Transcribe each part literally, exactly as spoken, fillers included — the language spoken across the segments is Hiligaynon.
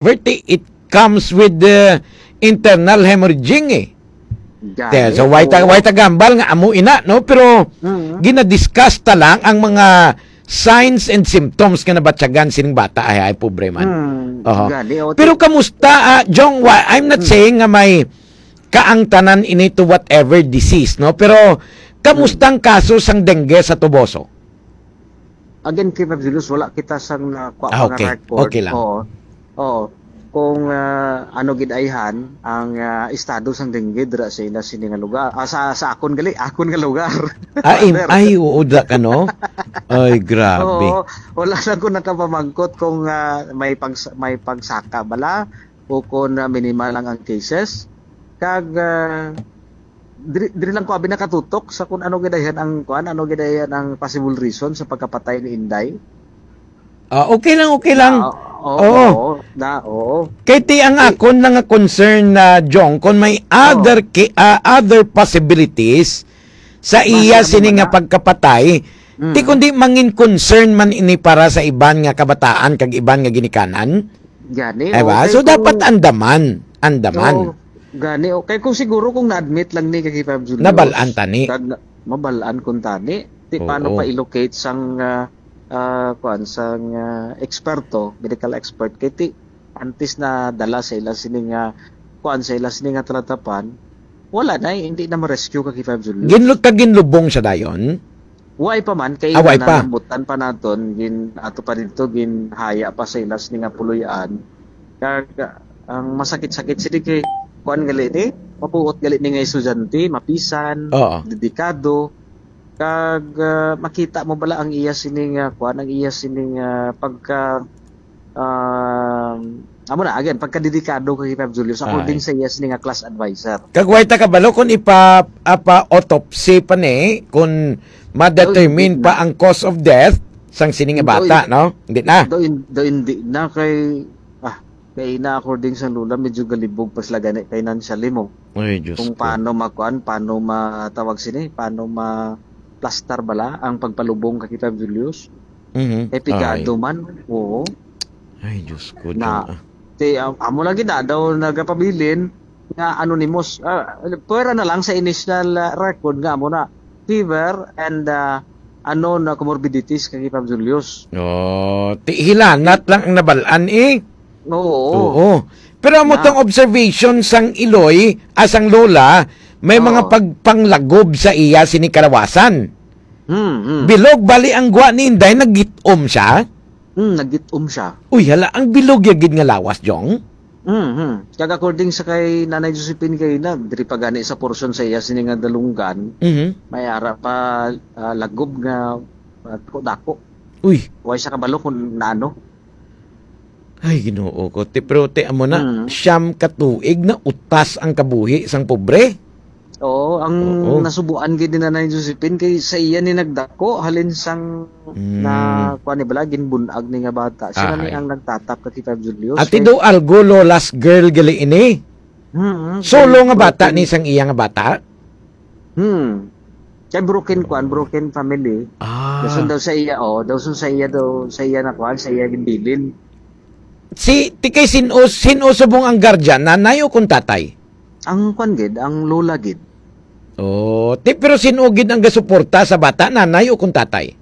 Verti, it comes with the internal hemorrhaging eh. Gani, Te, so, why ta, oo. why ta gambal nga amo ina, no? Pero Mm. ginadiscuss ta lang ang mga signs and symptoms nga nabatyagan sining bata ay, ay pobre man. Mm, Oho. gani, o, Pero ti- kamusta, ah, Jong? Wa-, I'm not Mm. saying nga may kaangtanan ini to whatever disease, no? Pero kamusta Mm. ang kaso sang dengue sa Toboso? Again, kay Ma'am Julius, wala kita sang nakuha Ah, pa nga okay. record. Okay lang. Oo. Oo. Kung, ah, ano gid ayhan ang, ah, estado sang dengue dira sa ila sini nga lugar. Ah, sa, sa akon gali, akon nga lugar. Ah, im-, Brother. ay, oo, da ka, no? Ay, grabe. Oo, wala lang ko nakapamangkot kung, ah, may pag-, may pagsaka bala o kung, ah, minimal lang ang cases. Kag, ah, diri, diri lang ko abi nakatutok sa kung ano gid ayhan ang, kuan, ano gid ayhan ang possible reason sa pagkapatay ni Inday. Ah, okay lang, okay lang. Ah, oo, Oo. oo, na, oo. Kay ti ang Eh, akon lang nga concern na, Jong, kung may Oo. other ki-, ah, other possibilities sa Base iya naman sini nga na. pagkapatay, Mm. ti kundi mangin concern man ini para sa iban nga kabataan kag iban nga ginikanan. Gani, Diba? okay, So, kung dapat andaman. Andaman. Oo, gani, okay. Kung siguro kung na-admit lang ni kay Five Julius, Nabal-an tani. kag na-, mabal-an kun tani, ti paano Oo. pa i-locate sang, ah, ah, kuan, sang, ah, eksperto, medical expert, kay ti, antes na dala sa ila sini nga, kuan, sa ila sini nga talatapan, wala na, eh, hindi na ma-rescue ka kay Five Julius. Ginlu-, kag ginlubong siya dayon? Way pa man, kay Ah, way pa. Nanambutan pa naton, gin-, ato pa didto, ginhaya pa sa ila sini nga puloy-an. Kag, ang masakit-sakit sini kay, kuan gali ni, mabuot gali ni nga estudyante, mapisan, Oo. dedikado. Kag, ah, makita mo bala ang iya sini nga, kuan, ang iya sini nga pagka, Um, amo na, again, pagkadedikado kay Five Julius, according Ay. sa iya sini nga class advisor. Kag way ta kabalo kung ipa-, apa-autopsy pa ni, kung ma-determine Daw, hindi pa na. ang cause of death sang sini nga Daw, bata, in-, no? Hindi na. daw, in-, daw, hindi na kay, ah, kay na according sa lula, medyo galibog pa sila gani financially mo. Ay, Diyos Kung ko. paano makuan, paano matawag sini, paano ma-plaster bala ang pagpalubong kay Five Julius. Mhm. Kay pigado Ay. man, oo. Ay, Diyos ko, Na, Jun, ah. ti, am-, amo lagi na daw nagapabilin nga anonymous. Ah, pwera na lang sa initial, ah, record nga amo na fever and, ah, unknown na comorbidities kay Five Julius. Oh, ti hilanat lang ang nabal-an, eh. Oo. Oo. Pero amo Na. tong observation sang iloy, ah, sang lola, may mga Oo. pagpanglagob sa iya sini kalawasan. Hmm, hmm. Bilog bali ang gwa ni Inday, naggitom siya? Hmm, naggitom siya. Uy, hala, ang bilog ya gid nga lawas, Jong. Hmm, hmm. Kag according sa kay Nanay Josephine kay na, diri pa gani sa portion sa iya sini nga dalunggan, Mhm. may ara pa, ah, lagob nga, ah, dako-dako. Uy. Way siya kabalo kung naano. Ay, Ginoo ko. Ti, pero ti, amo na, Mm. siyam ka tuig na utas ang kabuhi sang pobre. Oo, ang Oo. nasubuan gid ni Nanay Josephine kay sa iya ni nagdako, halin sang Mm. na, kuwan ni bala, ginbunag ni nga bata. Siya na ni Ahay. ang nagtatap kay Five Julius. Ati Kay do algo, Lola's girl gali ini. Mm, Solo kay nga bata broken. ni sang iya nga bata? Hmm. Kay broken, kuwan, broken family. Ah. Dason daw sa iya, oh, dason sa iya daw, sa iya na kuwan, sa iya ginbilin. Si, ti kay sin-o, sin-o subong ang guardian, nanay o kung tatay? Ang kuwan gid, ang lola gid. Oh, ti, pero sin-o gid ang gasuporta sa bata, nanay o kung tatay?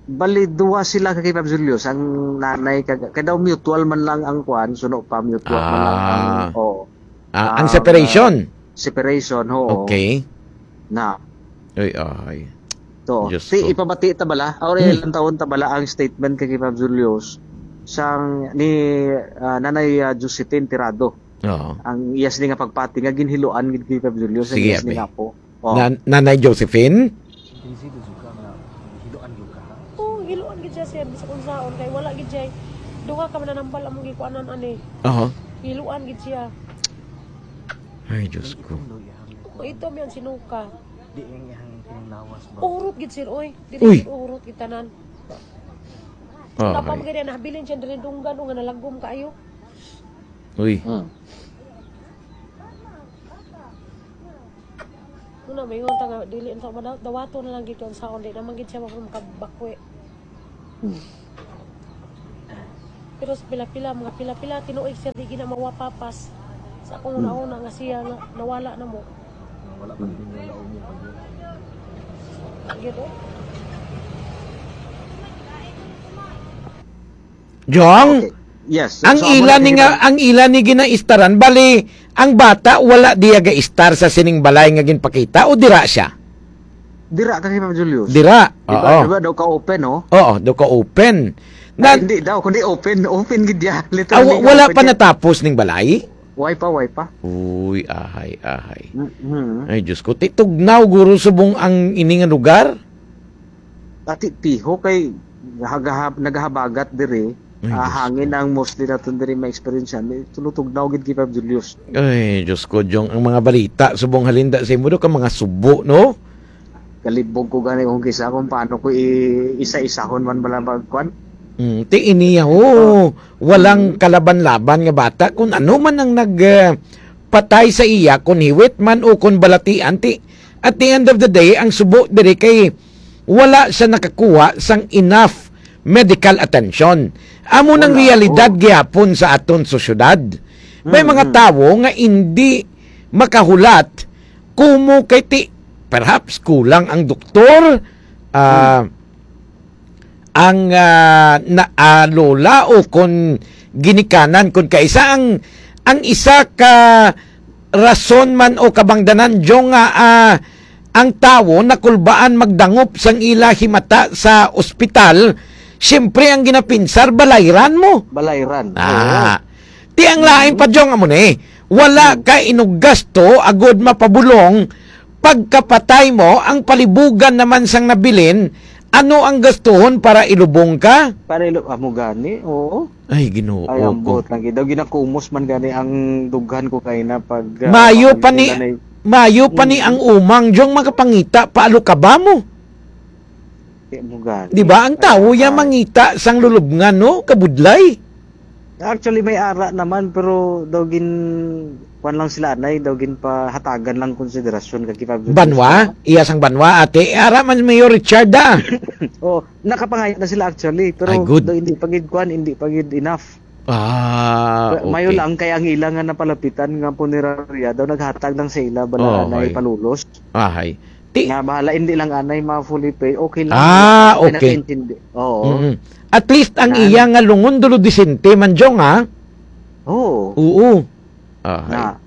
Bali, duwa sila ka kay Pops Julius, ang nanay kag, kay daw mutual man lang ang kuwan, suno pa, mutual man lang ang, Ah. oh. Ah, ang Ang, separation? ah, separation, oo. Okay. Na. Uy, ay. To, Diyos ti, ko. ipabati ta bala? Or Hmm. ilang taon ta bala ang statement kay Pops Julius sang ni, ah, Nanay, ah, Josephine Tirado? Oo. Ang iya sini nga pagpati nga ginhiluan gid kay Pops Julius, ang Sige, iya sini abi. nga apo. Oh. Na-, Nanay Josephine? Busy to ka nga hiluan gyud ka, ha? Oo, hiluan gid siya, sir. Bisag unsaon kay wala gid siya. Duha ka mananambal among gikuanan ani. Aha. Hiluan gid siya. Ay, Diyos ko. Ang itom daw iyang Kung ito, may ang sinuka. Di ang iyang pinanglawas ba? Urot gid, sir, oy. Dili Uy! gid urot gid tanan. Ah, Wala pa ay. man gani nahabilin siya diri dunggan o nga nalagom kaayo. Uy. Hmm. Una, may ta nga, dili unta madaw-, dawaton na lang gid kay unsaon, di naman gid siya makabakwi. Hmm. Pero sa pila-pila, mga pila-pila, tinuig siya di gina mawapapas. Sa akong una-una nga siya nga nawala na mo. Wala pa rin yung wala, umiyak pa yun. Yun, oh. Jong, Okay. Yes. So, ang so, amo ila na ni nga, gina- ang ila ni ginaistaran, bali, ang bata wala diya gaistar sa sining balay nga ginpakita o dira siya? Dira ka kay Papa Julius. Dira. Di ba, Oo. Di ba daw ka open, no? Oo, daw ka open. Na, Ay, hindi daw, kundi open. Open gid ya. Ah, Literally, wa- wala open pa ya. Natapos ning balay? Way pa, way pa. Uy, ahay, ahay. Mm-hmm. Ay, Diyos ko. Ti tugnaw, guro, subong ang ini nga lugar? Ati piho kay hagahab, nagahabagat diri. Ay, ah, Diyos hangin ko. Ang mostly naton diri ma-experience yan. Tulutugnaw gid kay Papa Julius. Ay, Diyos ko, Jong, ang mga balita, subong halinda sa imo do ka mga subo, no? Kalibog ko gani kung kisa kung paano ko i-isa-isahon man bala magkwan. Mm, ti iniya, oh, walang kalaban-laban nga bata. Kung ano man ang nag, ah, patay sa iya, kung hiwit man o kung balatian, ti, at the end of the day, ang subo diri kay wala siya nakakuha sang enough medical attention. Amo nang Wala, realidad oh. Gihapon sa aton sosyedad. May mga Mm-mm. Tawo nga indi makahulat kumo kay ti, perhaps kulang ang doktor, ah, Hmm. ang, ah, na, ah, lola o kon ginikanan, kon kaisa ang, ang isa ka rason man o kabangdanan, Jong, nga, ah, ang tawo nakulbaan magdangop sang ila himata sa ospital, siyempre ang ginapinsar, balayran mo. Balayran. Ah. Oo. Ti ang lain pa, Jong, amo ni. Wala Hmm. ka inuggasto agud mapabulong pagkapatay mo, ang palibugan naman sang nabilin, ano ang gastuhon para ilubong ka? Para ilo-, amo gani, oo. Ay, Ginoo Ay, ang ko. Buot lang gid. Daw ginakumos man gani ang dughan ko kay na pag, ah, Mayo pa ni, pamilya na mayo pa ni Hmm. ang umang, Jong, makapangita pa, alo ka ba mo? Di mo gani. Di ba? Ang tawo Ay, ya ay. Mangita sang lulubngan, no? Kabudlay. Actually, may ara naman, pero daw gin-, kuwan lang sila, anay, daw ginpahatagan lang konsiderasyon kag ipabigay Banwa? Sa Iya sang banwa, ate. Eh, ara man, Mayor Richard, ah. Oh, nakapangayo na sila, actually, pero Ay, good. Daw hindi pa gid kuwan, hindi pa gid enough. Ah, Mayo okay. Lang kay ang ila nga napalapitan nga punerarya, daw naghatag lang sa ila, bala, Oh, anay, okay. Palulos. Ahay. Ti- Nga bahala, hindi lang anay ma-fully pay. Okay lang. Ah, okay. Nakaintindi. Oo. Mm-mm. At least ang Nga iya ano? Nga lungon dulo disente man, Jong, ha? Oo. Oo. Ahay. Na.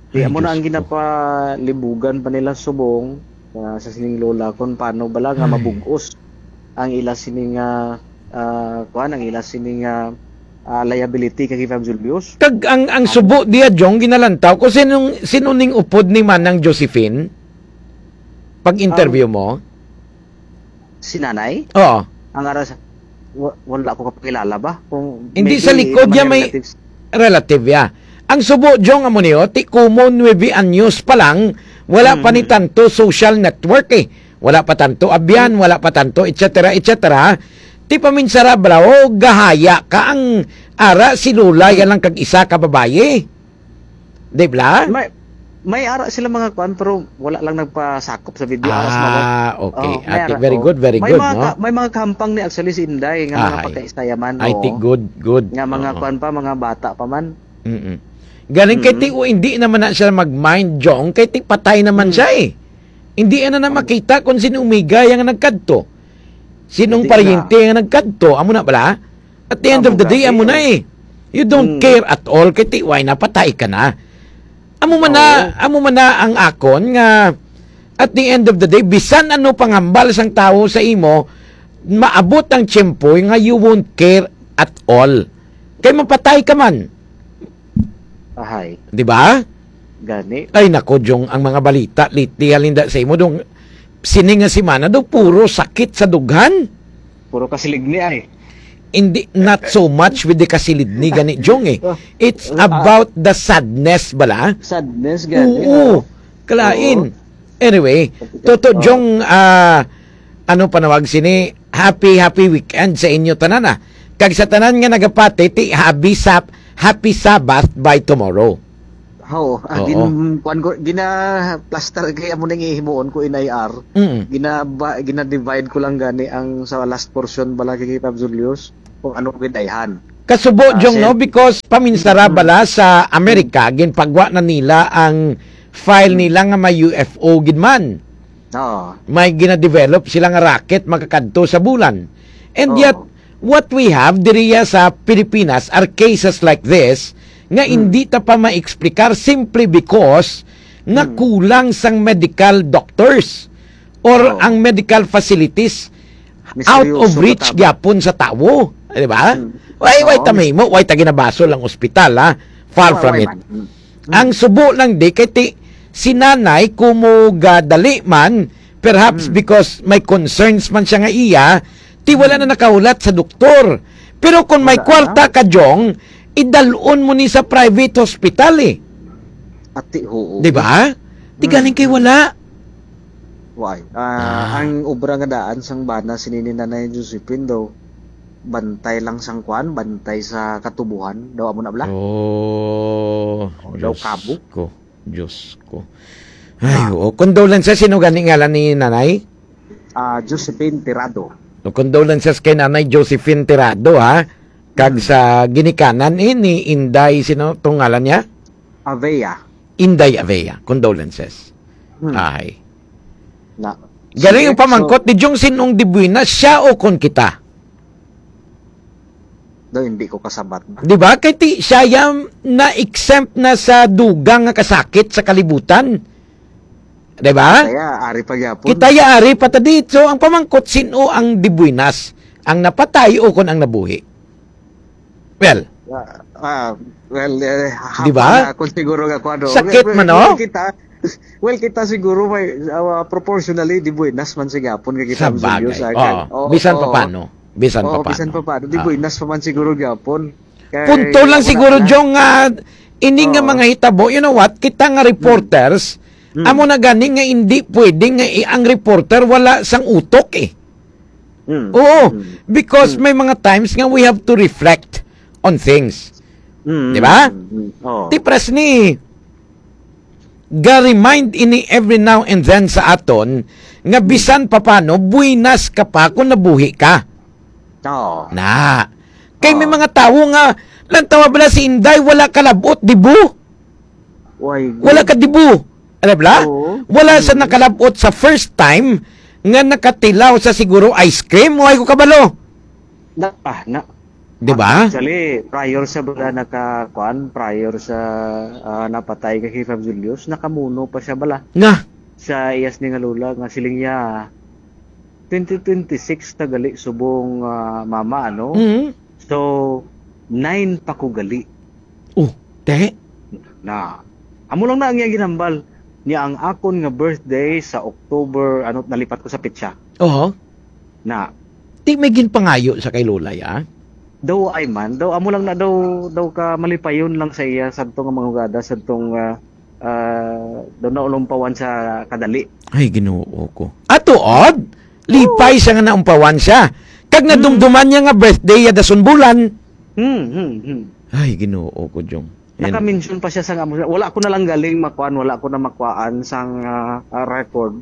Di, ay, amo na Diyos ang ko. Ginapalibugan pa nila subong, ah, sa sining lola kung paano bala nga Ay. Mabug-os ang ila sining, ah, ah, kuwan, ang ila sining, ah, ah, liability kay Fam Julius. Kag ang, ang subo diya, Jong, ginalantaw ko, sinong, sino ning upod ni Manang Josephine? Pag-interview Ang mo? Si nanay? Oo. Ang ara sa, wa-, wala ko kapakilala ba? Kung hindi maybe sa likod mga niya may relatives. Relative, ya. Ang subo, Jong, amo niyo, ti kumo nuebe anyos pa lang, wala pa ni Mm. Tanto social network, eh. Wala pa tanto abyan, wala pa tanto, et cetera, et cetera. Ti paminsara, bala, oh, gahaya ka ang ara si Lola, yan lang kag isa ka babayi. Di bala? May, may ara sila mga kwan, pero wala lang nagpasakop sa video. Aras mga Ah, okay. Oh, may Ate, ara, very oh. Good, very May good, mga no? Ka-, may mga kahampang ni actually si Inday, nga mga Ahay. Pagkaistayaman, I oo. Think good, good. Nga mga Oo. Kwan pa, mga bata pa man. Mm-mm. Galing kay Mm. Ti, o, hindi naman na siya mag-mind, Jong, kay Ti, patay naman Mm. Siya, eh. Hindi na na Ang makita kung sino umigay ang nagkadto. Sinong Hindi paryente na. Ang nagkadto? Amo na bala? At the end of Amo the day, gani, amo na eh. Eh. You don't Mm. Care at all kay Ti, why napatay ka na? Amo man na, Oo. Amo man na ang akon nga at the end of the day, bisan ano panghambal sang tawo sa imo, maabot ang tiyempo nga you won't care at all. Kay mapatay ka man. Ahay. Di ba? Gani. Ay, nako, Jong, ang mga balita lately, halinda sa imo, dong, sini nga semana, daw, puro sakit sa dughan. Puro kasiligni, ay. Hindi, not so much with the kasilidni, gani, Jong, eh. Oh. It's Ah. About the sadness, bala? Sadness, gani, Oo. Oh. Kalain. Oo. Anyway, Kapitan. Toto, Oh. Jong, ah, ano panawag sini? Happy, happy weekend sa inyo tanan, ah. Kag sa tanan nga nagapati, ti happy sap-, happy Sabbath by tomorrow. How? Ah, Oo. Gin-, kuwan ko, gina-plaster kay amo ning ihimuon ko in I R. Mm. Ginaba-, gina-divide ko lang gani ang sa last portion bala kay Pab Julius. kung ano gid dayhan. Kasubo, Ah, Jong, no? Sen. Because paminsara Mm. bala sa Amerika, Mm. ginpagwa na nila ang file Mm. nila nga may U F O gid man. Oo. May gina-develop sila nga rocket makakadto sa bulan. And Oo. yet, what we have diriya sa Pilipinas are cases like this nga Mm. hindi ta pa maexplikar simply because nga Mm. kulang sang medical doctors or Oo. ang medical facilities out of Misteryoso reach ka tama. gyapon sa tawo, di ba? Mm. Why, why Oo, ta mis- mahimo? Why ta ginabasol ang ospital, ha? Far Why, from why it. man? Mm. Ang Mm. subo lang di kay ti, si nanay kumo gadali man, perhaps Mm. because may concerns man siya nga iya, ti wala Mm. na nakahulat sa doktor. Pero kung may Wala kwarta na. ka, Jong, idalon mo ni sa private hospital, eh. Ati, oo. Di ba? Di Mm, galing kay mm. wala. Why? Ah, Ah. ang obra nga daan sang bana sini ni Nanay Josephine daw, bantay lang sang kwan, bantay sa katubuhan, daw amo na bala? Oh, Oh, daw Diyos kabo? ko, Diyos ko. Ay, Ah. oo. Condolences, sino gani ngalan ni Nanay? Ah, Josephine Tirado. O, condolences kay Nanay Josephine Tirado, ha? Kag Hmm. sa ginikanan, eh, ni Inday, sino tong ngalan niya? Avea. Inday Avea. Condolences. Hmm. Ay. Na. Galing Sige, ang pamangkot so ni Jong, sinong dibuina, siya o kon kita? Do, hindi ko kasabat. Di ba? Kay ti, siya yang na-exempt na sa dugang nga kasakit sa kalibutan. Di ba? Kaya, ari pa gyapon. Kita ya ari pa ta dito. Ang pamangkot, sino ang dibuinas? Ang napatay o kon ang nabuhi? Well, Ah, ah, well, eh, Di ba? hapa na kung siguro nga kuwan, no? Sakit Well, man, well, no? kita, well, kita siguro may, ah, proportionally, di buenas man sa gihapon nga kita Sa ang bagay. Julius, ah, Oo. kag-, oo, Bisan oo. pa paano. Bisan Oo, pa bisan paano. pa paano. Di Oo. buenas pa man siguro gihapon. Kay Punto lang wala siguro, na lang. Jong, nga ini nga Oo. mga hitabo, you know what? Kita nga Hmm. reporters, Hmm. amo na gani nga hindi pwede nga i-, ang reporter wala sang utok, eh. Mm. Oo, Mm. because Mm. may mga times nga we have to reflect on things. Mm, Di ba? mm, mm. Oo. Ti pres ni, ga-remind ini every now and then sa aton nga Mm. bisan pa paano, buinas ka pa kung nabuhi ka. Oo. Na. Kay may Oo. mga tawo nga, lantawa bala si Inday, wala kalabot, di bu? Why, Wala good? ka dibu. Alam bala? Oo. Wala sa Mm. nakalabot sa first time nga nakatilaw sa siguro ice cream. Why ko kabalo? Na, ah, na. Di ba? Actually, prior sa bala naka, kuan, prior sa, ah, napatay kay Fab Julius, nakamuno pa siya bala. Nga? Sa iyas ni nga lola nga siling niya, twenty twenty-six na gali subong, ah, mama, ano? Mm. So, nine pa ko gali. Oh, te? Na, amo lang na ang iyang ginambal. Niya ang akon nga birthday sa October, ano, nalipat ko sa petsa. Oho. Na. Di may ginpangayo sa kay Lola, ya? Daw ay man. Daw, amo lang na daw, daw ka malipayon lang sa iya, sadto nga mga hugada, sadtong, ah, ah, daw naulumpawan sa kadali. Ay, Ginoo ko. Atuod? Lipay Oo. siya nga naumpawan siya. Kag Mm. nadumduman niya nga birthday ya dason bulan. Hmm, hmm, hmm. Ay, Ginoo ko, Jong. Yan. Naka-mention pa siya sa nga, wala ko na lang galing makuan, wala ko na makuan sang, ah, ah, record.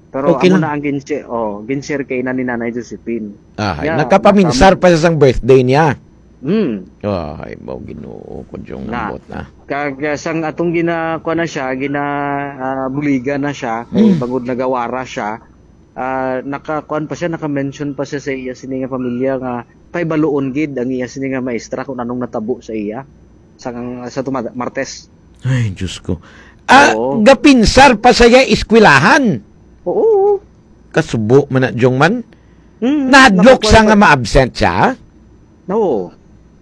Pero Okay amo lang. na ang ginshi-, oh, ginshare kay na ni Nanay Josephine. Ah, Yeah, nakapaminsar nakam- pa siya sang birthday niya. Hmm. Ay, mao Ginoo ko, Jong, Na. nambot na. Kag, ah, sang atong gina-, kuan na siya, gina-, ah, buligan na siya, kay Hmm. bangod nagawara siya, ah, naka-, kuan pa siya, naka-mention pa siya sa iya sini nga pamilya nga pahibaluon gid ang iya sini nga maestra kung anong natabo sa iya sa, sa tuma-, Martes. Ay, Diyos ko. Ah, Oo. gapinsar pa sa iya eskwelahan. Oo. Kasubo man na, Jong, man. Mm, Nahadlok sa nakukuha nga pa. ma-absent siya? Oo.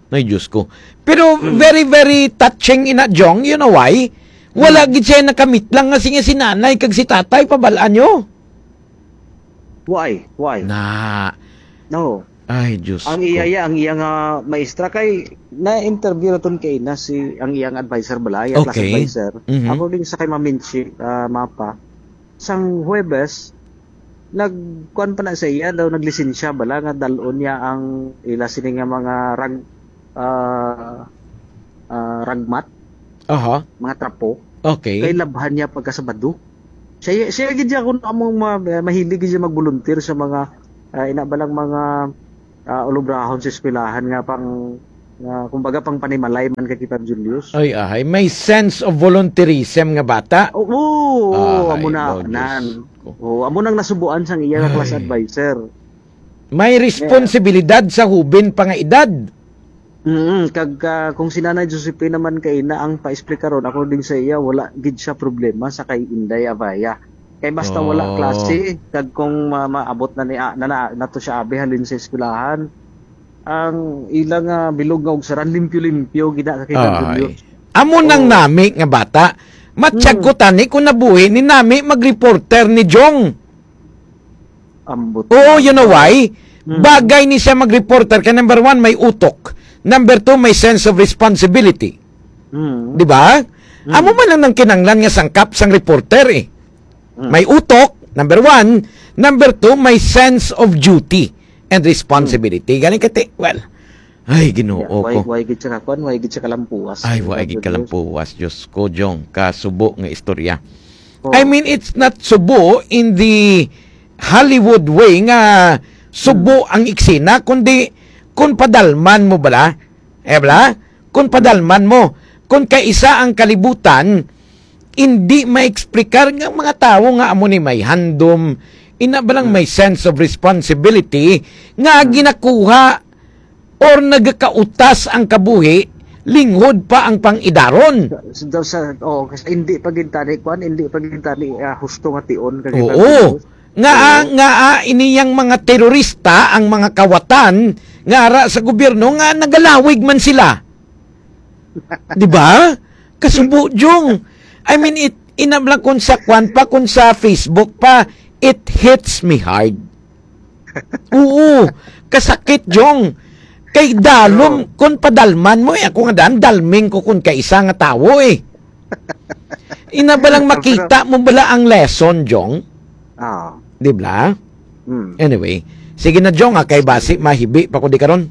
Ay, Diyos ko. Pero Mm. very, very touching ina, Jong. You know why? Wala Mm. gid siya nakamit lang nga si, si nanay kag si tatay, pabalaan nyo. Why? Why? Na. No. Ay, Diyos Ang ko. iya, iya, ang iya nga maestra kay na-interview naton kay na si, ang iyang advisor bala, iya class Okay. advisor. Mhm. According sa kay Maminchi, ah, Mapa, sang Huwebes, nagkuan pa na sa iya daw, naglisensya bala nga dalon niya ang ila sini nga mga rag-, ah, ah, ragmat, Aha. mga trapo. Okay. Kay labhan niya pagka Sabado. Siya, siya gid siya kung among ma-, mahilig gid siya mag-volunteer sa mga, ah, ina ba lang mga ah, ulubrahon sa eskwelahan nga pang, nga, kumbaga, pang panimalay man kay Tita Julius. Ay, ahay. May sense of volunteerism nga bata. Oo, oo, Ay, amo na, oh, Diyos nan. Ko. Oo, amo nang nasubuan sang iya nga class Ay. advisor. May Yeah. responsibilidad sa hubin pa nga edad. Mm, kag, ah, kung si Nanay Josephine naman kay na ang paexplika ron, according sa iya, wala gid siya problema sa kay Inday Abaya. Kay basta wala Oh. klase, kag kung ma-, maabot na ni, ah, na, na, nato siya abi halin sa eskwelahan, ang ilang, ah, bilog nga ugsaran, limpyo-limpyo, gid na, kakita Ay. ninyo. Amo nang Oh. nami nga bata. Matyag Hmm. ko tani kung nabuhi ni nami mag-reporter ni Jong. Ambot Oo, na. you know why? Mm. Bagay ni siya mag-reporter kay number one, may utok. Number two, may sense of responsibility. Mm. Di ba? Mm. Amo man lang nang kinanglan nga sangkap sang reporter eh. Mm. May utok, number one. Number two, may sense of duty and responsibility. Mm. Gani kati, well, ay, Ginoo Yeah, why, ko. why gid siya kakuan? Why gid siya kalampuas? Ay, why Why gid gid kalampuas? Diyos ko, Jong, kasubo nga istorya. Oh. I mean, it's not subo in the Hollywood way nga subo Hmm. ang eksena, kundi kung padalman mo bala, eh, bala? Kung Hmm. padalman mo, kung kaisa ang kalibutan, hindi maeksplikar nga mga tawo nga amo ni may handom, ina ba lang Hmm. may sense of responsibility nga Hmm. ginakuha or nagakautas ang kabuhi, linghod pa ang pang-idaron. Sa, sa, sa, oh, kasi hindi pa gintani, kwan, hindi pa gintani, ah, husto nga tion, kag Oo. Nga, ah, Oo. nga, ah, iniyang mga terorista, ang mga kawatan, nga ara sa gobyerno, nga nagalawig man sila. Di ba? Kasubo, Jong. I mean, it, inabla kung sa kwan pa, kung sa Facebook pa, it hits me hard. Oo, kasakit, Jong. Kay dalom, Oo. Kung padalman mo, eh, ako nga daan, dalming ko kung kaisa nga tawo, eh. Ina ba lang Pero makita mo bala ang lesson, Jong? Oo. Di ba? Hmm. Anyway, sige na, Jong, ah, kay basi mahibi pa ko di karon.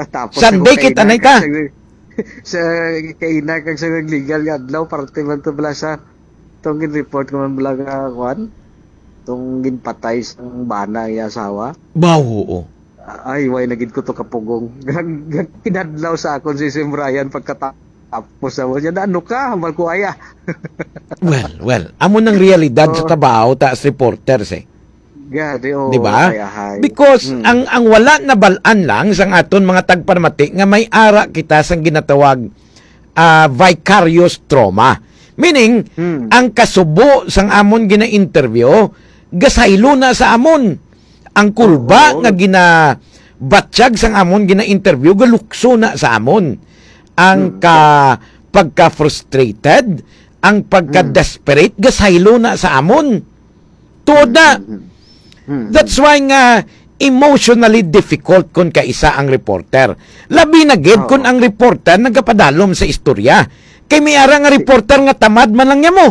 Tapos Sunday sa kita na kaina, ita. kag sa, sa kaina kag sa legal nga adlaw, parte man to bala sa tong gin-report ko man bala nga, kwan? Tong ginpatay sang bana ang iya asawa. Ba, oo. Ay, way na gid ko to kapugong. Kinadlaw sa akon si Sim Ryan pagkatapos sa mo niya, "Ano ka? Hambal ko, aya." Well, well, amo nang realidad sa Oo. trabaho ta as reporters, eh. Gani, oo, Di ba? Ahay, ahay. Because Mm. ang, ang wala nabal-an lang sang aton mga tagpamati nga may ara kita sang ginatawag, ah, vicarious trauma. Meaning, Mm. ang kasubo sang amon gina-interview, gasaylo na sa amon. Ang kulba Oo. nga ginabatyag sang amon gina-interview, galukso na sa amon. Ang Mm. ka-, pagka-frustrated, ang pagka-desperate, Mm. gasaylo na sa amon. Tuod na. Mm, mm, mm. That's why nga emotionally difficult kon kaisa ang reporter. Labi na gid Oo. kon ang reporter nagapadalom sa istorya. Kay may ara nga reporter nga tamad man lang niya mo.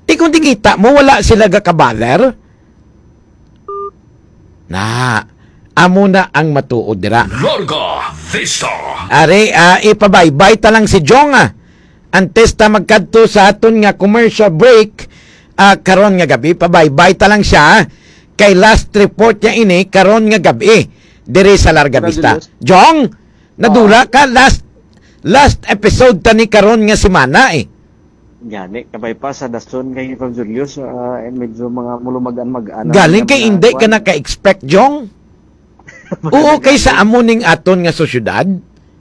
Di kung di kita mo, wala sila gakabaler. Na, amo na ang matuod dira. Larga Vista. Ari, ah, ipabaybay ta lang si Jong, ah. Antes ta magkadto sa aton nga commercial break, ah, karon nga gabi, pabaybay ta lang siya, ah. Kay last report niya ini, karon nga gabi, diri sa Larga Vista. Congratulations. Jong, nadula Oo. ka, last, last episode ta ni karon nga semana, eh. Gani, kabay pa sa dason kay Pag Julius, ah, eh, medyo mga mulumagan-magan ang Galing kay mga hindi ka kuwan. naka-expect, Jong. Oo, kay sa amo ning aton nga sosyedad,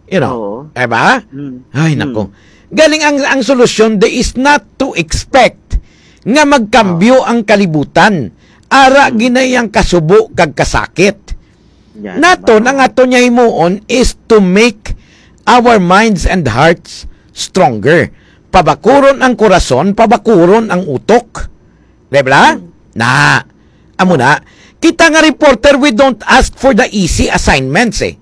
you know, Oo. di ba? Mm. Ay, Mm. nako. Galing ang, ang solusyon, there is not to expect nga magkambyo Oo. ang kalibutan. Ara Mm. ginay ang kasubo kag kasakit. Yan, Naton, ma'am. ang aton niya himuon is to make our minds and hearts stronger. Pabakuron ang korason, pabakuron ang utok. Di ba? Hmm. Na, amo na. Kita nga reporter, we don't ask for the easy assignments eh.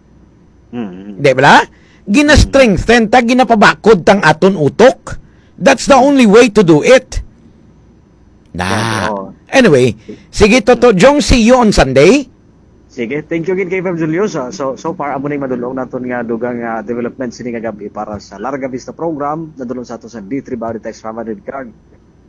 Hmm. Di ba? Gina-strengthen ta, ginapabakod tang aton utok. That's the only way to do it. Na. Yan, oo. Anyway, sige, Toto Jong, see you on Sunday. Sige, thank you again kay Fam Julio. So, so, so far, amo na yung madulong naton nga dugang, ah, development sini nga gabi para sa Larga Vista program. Nadulong sa ato sa D three Body Text five hundred card.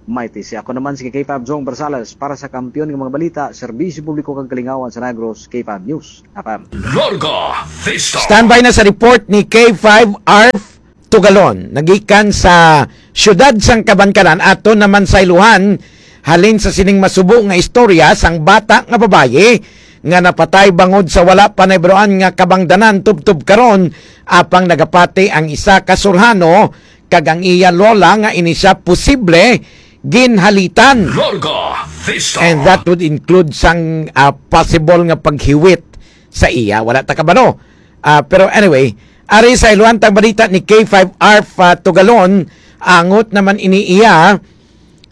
Mayti, si ako naman si K five Jong Barsales para sa Kampiyon nga mga Balita, Serbisyo Publiko kag Kalingawan sa Negros, K five News F M. Larga Vista. Standby na sa report ni K five Arf Tugalon. Nagikan sa siyudad sang Kabankanan, ato naman sa iluhan, halin sa sining masubo nga istorya sang bata nga babayi nga napatay bangod sa wala pa nahibaluan nga kabangdanan tubtob karon, apang nagapati ang isa ka surhano kag ang iya lola nga ini siya posible ginhalitan. Larga Vista. And that would include sang, ah, possible nga paghiwit sa iya. Wala ta kabalo. Ah, pero anyway, ari sa iluhan tang balita ni K five Arf, ah, Tugalon, angot naman ini iya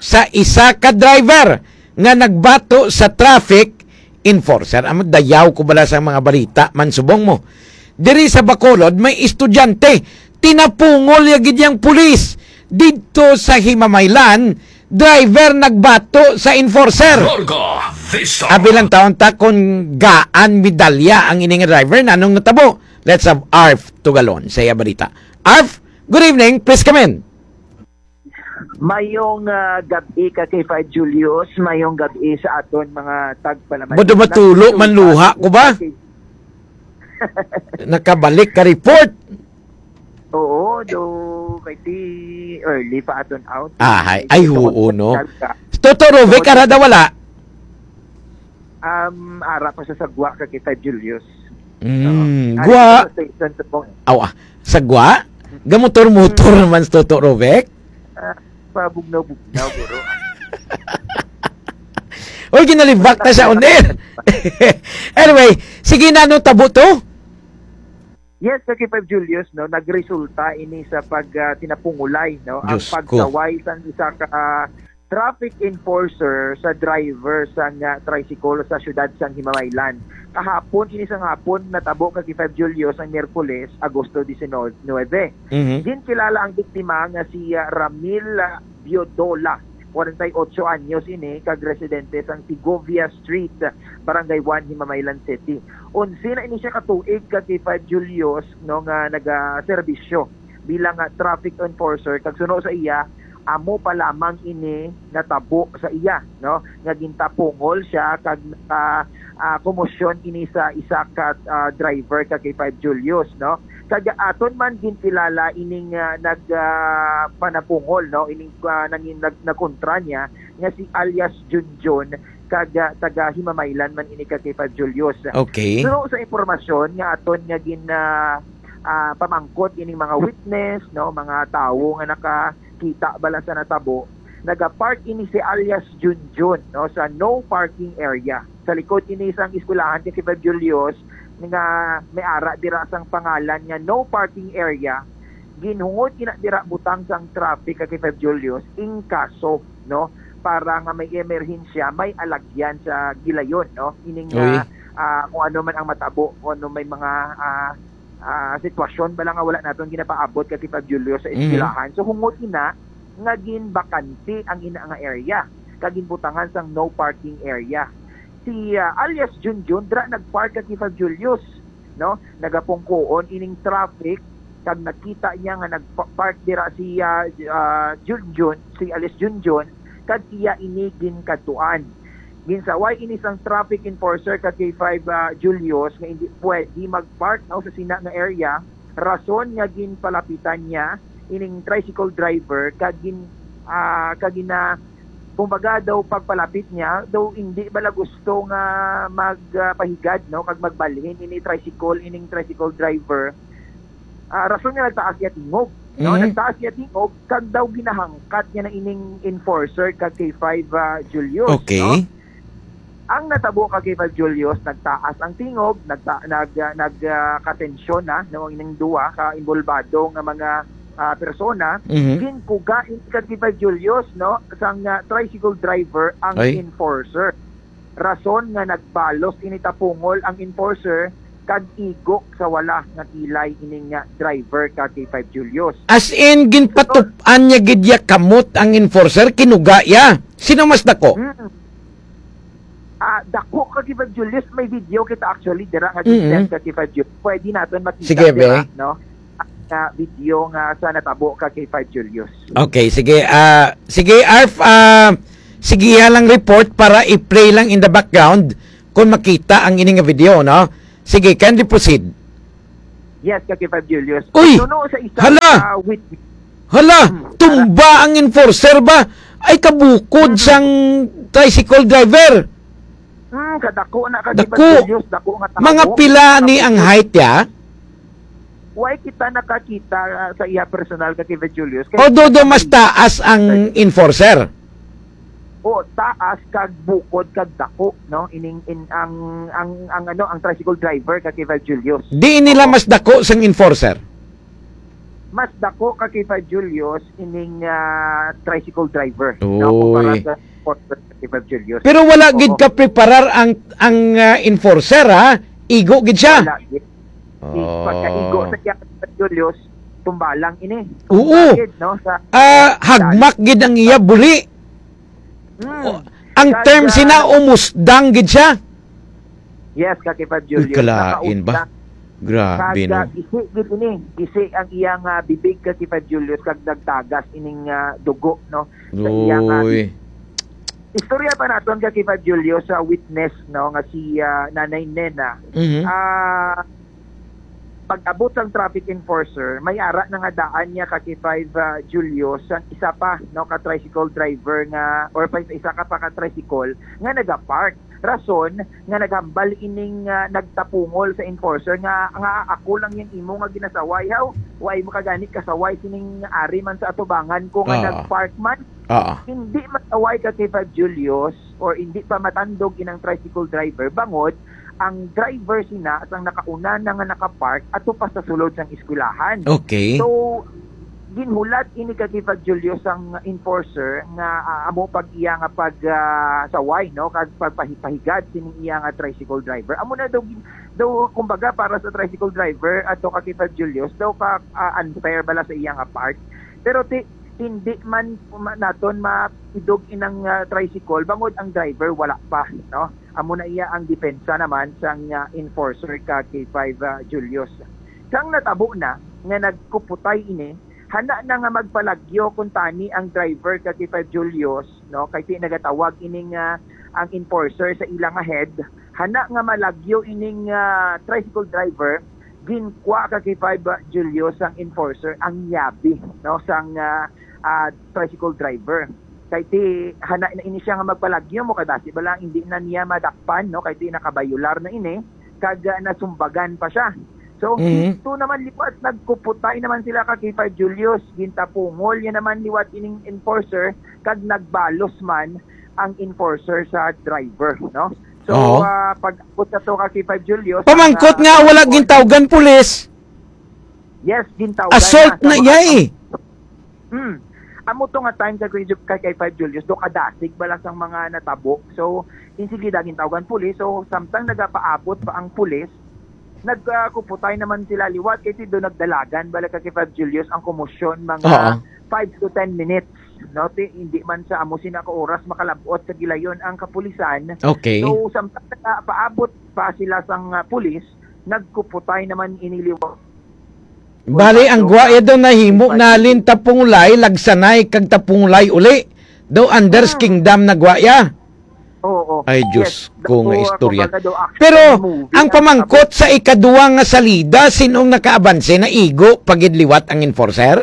sa isa ka driver nga nagbato sa traffic enforcer. Amo, dayaw ko bala sa mga balita man subong mo. Diri sa Bacolod, may estudyante, tinapungol ya gid yang pulis didto sa Himamaylan, driver nagbato sa enforcer. Larga Vista. Abi lang taon ta kung gaan medalya ang ini nga driver, nanong natabo. Let's have Arf Tugalon sa iya balita. Arf, good evening, please come in. Mayong, ah, gab-i ka kay Five Julius, mayong gab-i sa aton mga tagpalamati. Bodo matulo man luha ko ba? Nakabalik ka report. Oo, do kay ti early pa aton out. Ah, ay, ay, oo, no. Hospital ka. Toto Rovic, ara daw wala? Um, ara pa sa sagwa ka kay Five Julius. Mm, Oo. Ari gwa. Sa station sa Bong- Aw, ah, sagwa? Gamotor-motor naman si Toto Rovic? Ah, pabugnaw-bugnaw, guro. Oy, ginalibak ta siya on air. Anyway, sige na, no, tabo to? Yes, Sir K five Julius, no, nagresulta ini sa pag, ah, tinapungulay, no, ang Diyos ko. Pagsaway sang isa ka, ah, traffic enforcer sa driver sang, ah, tricycle sa siyudad sang Himamaylan. Kahapon, ini sang hapon, natabo ka K five Julius ang Miyerkules, Agosto diecinuebe. Mhm. Ginkilala ang biktima nga si, ah, Ramil, ah, Biodola, forty-eight anyos ini, kag residente sang Segovia Street, Barangay one, Himamaylan City. Onse na ini siya ka tuig ka K five Julius, no, nga nagaserbisyo bilang, ah, traffic enforcer, kag suno sa iya, amo pa lamang ini natabo sa iya, no, nga gintapungol siya kag naka, ah, komosyon ini sa isa ka, ah, driver ka K five Julius, no. Kag aton man ginkilala ining, ah, nag, ah, panapungol, no, ining, ah, nangin-, nag-, nagkontra niya nga si alias Junjun, kag, ah, taga Himamaylan man ini ka K five Julius. Okay. Pero sa impormasyon nga aton nga gin, ah, ah, pamangkot ining mga witness, no, mga tawo nga nakakita bala sa natabo, nagapark ini si alias Junjun, no, sa no parking area. Sa likod ini sang eskwelahan kay K five Julius nga may ara dira sang pangalan nga no parking area, ginhungod ina dira butang sang traffic kay K five Julius, in kaso, no, para nga may emerhensya, may alagyan sa gilayon, no, ining, Uy. ah, ah, kung ano man ang matabo, kung ano may mga, ah, ah, sitwasyon bala nga wala naton ginapaabot kay K five Julius sa Mhm. eskwelahan. So, hungod ina nga ginbakante ang ina nga area, kag ginbutangan sang no parking area. Si, ah, alias Junjun, dira nagpark ka K five Julius, no? Nagapungkoon ining traffic, kag nakita niya nga nagpa-, park dira si, ah, ah, Junjun, si alias Junjun, kag iya ini ginkadtuan. Ginsaway ini sang traffic enforcer ka K five, ah, Julius nga hindi pwede mag-park, no, sa sina nga area, rason nga ginpalapitan niya ining tricycle driver kag gin-, ah, kag gina-, kumbaga daw pagpalapit niya, daw hindi bala gusto nga mag, ah, pahigad, no, kag magbalhin ini tricycle, ining tricycle driver. Ah, rason nga nagtaas iya tingog, no? Mhm. Nagtaas iya tingog, kag daw ginahangkat niya na ining enforcer kag K five, ah, Julius, Okay. no? Ang natabo kag K five Julius, nagtaas ang tingog, nagta-, nag-, ah, nag-, ah, katensyon na, no, ining duwa ka involbado nga mga, ah, persona, Mhm. ginkuga ini kag K five Julius, no, sang, ah, tricycle driver ang Ay. enforcer. Rason nga nagbalos ini tapungol ang enforcer kag igo sa wala nga kilay ining, ah, driver ka K five Julius. As in, ginpatup-an niya gid ya kamot ang enforcer, kinuga ya. Sino mas dako? Hmm. Ah, dako ka K five Julius, may video kita actually dira nga Mm-mm. gi-send ka K five Julius. Pwede naton makita Sige, dira, be. no? nga video nga sa natabo ka kay five Julius. Okay, sige. Ah, sige, Arf, ah, sige, ya lang report para i-play lang in the background kung makita ang ini nga video, no? Sige, kindly proceed. Yes, ka kay five Julius. Uy! Suno sa isa Hala! ka witness. Hala, Hmm, tumba ang enforcer ba? Ay, kabukod Hmm. sang tricycle driver. Hmm, kadako na ka, Dako. Julius, dako nga tao. Mga pila ni ang height, ya? Why kita nakakita, ah, sa iya personal ka, Kevin Julius? Kay Although do mas taas ang enforcer. O, taas kag bukod kag dako, no? Ining, in, ang, ang, ang, ano, ang tricycle driver ka, Kevin Julius. Di nila Oo. mas dako sang enforcer? Mas dako ka, Kevin Julius, ining, ah, tricycle driver, no? Kumpara Uy. sa enforcer ka, Kevin Julius. Pero wala gid Oo. ka preparar ang, ang, ah, enforcer, ha? Igo gid siya. Wala gid. Di, Oh. pagkaigo sa iya, Julius, tumbalang ini. Oo. Tumba gid, no, sa Ah, hagmak gid ang iya buli. Hmm. Oh, ang Kag, term ah, sina, umusdang gid siya. Yes, ka kay five Uy, Julius, kalain ba? nakausdang. Grabe, Kag, ah, no? gisi gid ini. Gisi ang iyang, ah, bibig, ka kay five Julius, kag nagtagas ining, ah, dugo, no, sa iyang, ah, Uy. Istorya pa naton ka kay five Julius sa witness, no, nga si, ah, Nanay Nena. Mhm. Ah, pag-abot sang traffic enforcer, may ara na nga daan niya ka kay five, ah, Julius, ang isa pa, no, ka tricycle driver nga, or pa isa ka pa ka tricycle nga nagapark. Rason nga naghambal ining, ah, nagtapungol sa enforcer nga, nga ako lang yang imo nga ginasaway, haw? Wa imo ka gani kasaway sining ari man sa atubangan ko nga Ah. nagpark man. Ah. Hindi masaway ka kay five Julius or hindi pa matandog inang tricycle driver bangod ang driver sina sang nakauna na nga nakapark ato pa sa sulod sang eskwelahan. Okay. So, ginhulat ini ka kay five Julius sang enforcer nga, ah, amo pag iya nga pag, ah, saway, no, kag pagpahipahigad sining iya nga tricycle driver. Amo na daw gin-, daw, kumbaga, para sa tricycle driver ato ka kay five Julius, daw ka, ah, unfair bala sa iya nga part. Pero ti-, hindi man ma-, naton maidog inang, ah, tricycle bangod ang driver wala pa, no? Amo na iya ang depensa naman sang, ah, enforcer ka kay five, ah, Julius. Sang natabo na nga nagkuputay ini, hana na nga magpalagyo kuntani ang driver ka kay five Julius, no? Kay ti nagatawag ini nga ang enforcer sa ila nga head, hana nga malagyo ining, ah, tricycle driver, ginkwa ka kay five Julius sang enforcer ang yabi, no, sang, ah, ah, tricycle driver. Kay ti hana na ini siya nga magpalagyo mo kay basi bala hindi na niya madakpan, no, kay ti nakabayular na ini kag, ah, nasumbagan pa siya. So, Mhm. dito naman liwat, nagkuputay naman sila ka kay five Julius, gintapungol niya naman liwat ining enforcer kag nagbalos man ang enforcer sa driver, no? So, Oo. ah, pag-abot sa to ka kay five Julius, Pamangkot ang, nga ah, wala enforcer gintawgan pulis. Yes, gintawgan Assault na sa na mga iya eh. Hmm. Amo to nga time sa Green Jup kay, kay five Julius, do kadasig bala sang mga natabo. So, in sige daging tawgan pulis. So, samtang nagapaabot pa ang pulis, nagkuputay naman sila liwat kay ti do nagdalagan bala ka kay five Julius ang komosyon mga Oo. five to ten minutes. No, ti, hindi man sa amo sina ka oras makalabot sa gilayon ang kapulisan. Okay. So, samtang nagapaabot pa sila sang, ah, pulis, nagkuputay naman ini liwat. Bali, ang Uy, gwa iya daw nahimo uy, nalin tapungulay, lagsanay kag tapungulay uli. Daw Anders Hmm. Kingdom na gwa iya. Oo. Ay, Diyos Yes, ko nga daw, istorya. kumbaga daw, action Pero, movie ang ang pamangkot sa ikaduwa nga salida, sinong nakaabanse, naigo pa gid liwat ang enforcer?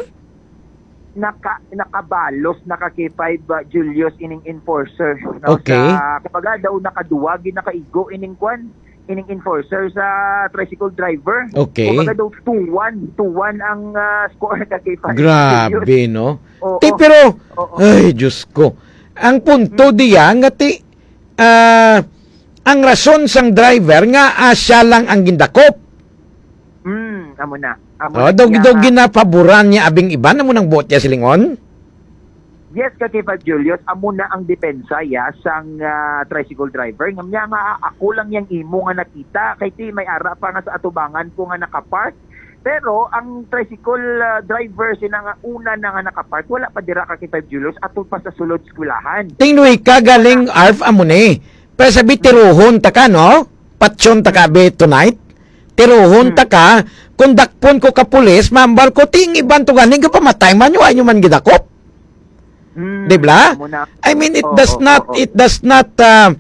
Naka-, nakabalos, naka K five, uh, Julius, ining enforcer, no? Okay. Sa, kumbaga daw, nakaduwa gid, nakaigo ining kwan, ining enforcer sa tricycle driver. Okay. Kumbaga daw, two one, two one ang, ah, score ka kay Fast Grabe, Furious. No? Oo. Ti, pero, Oo. Ay, Diyos ko. Ang punto Hmm. diya nga ti, ah, ang rason sang driver nga, ah, siya lang ang gindakop. Hmm, amo na. Amo Oh, na daw, siya daw nga ginapaboran niya abing iban, amo nang buot niya silingon? Yes, ka kay Fab Julius, amo na ang depensa ya sang, ah, tricycle driver. Nga niya nga, "Ako lang yang imo nga nakita, kay ti may ara pa nga sa atubangan ko nga nakapark." Pero ang tricycle, ah, driver sina nga una na nga nakapark, wala pa dira ka kay Fab Julius, ato pa sa sulod eskwelahan. Tingluy ka galing, Arf, amo ni. Pero sabi, tiruhon ta ka, no? Patyon ta ka, be, tonight? Tiruhon Hmm. ta ka, kung dakpon ko ka pulis, maambal ko, ting iban to gani, gapamatay man nyo, ay nyo man gidakop. Hmm, Di ba? amo na. I mean, it Oo, does not, oo. it does not, uh,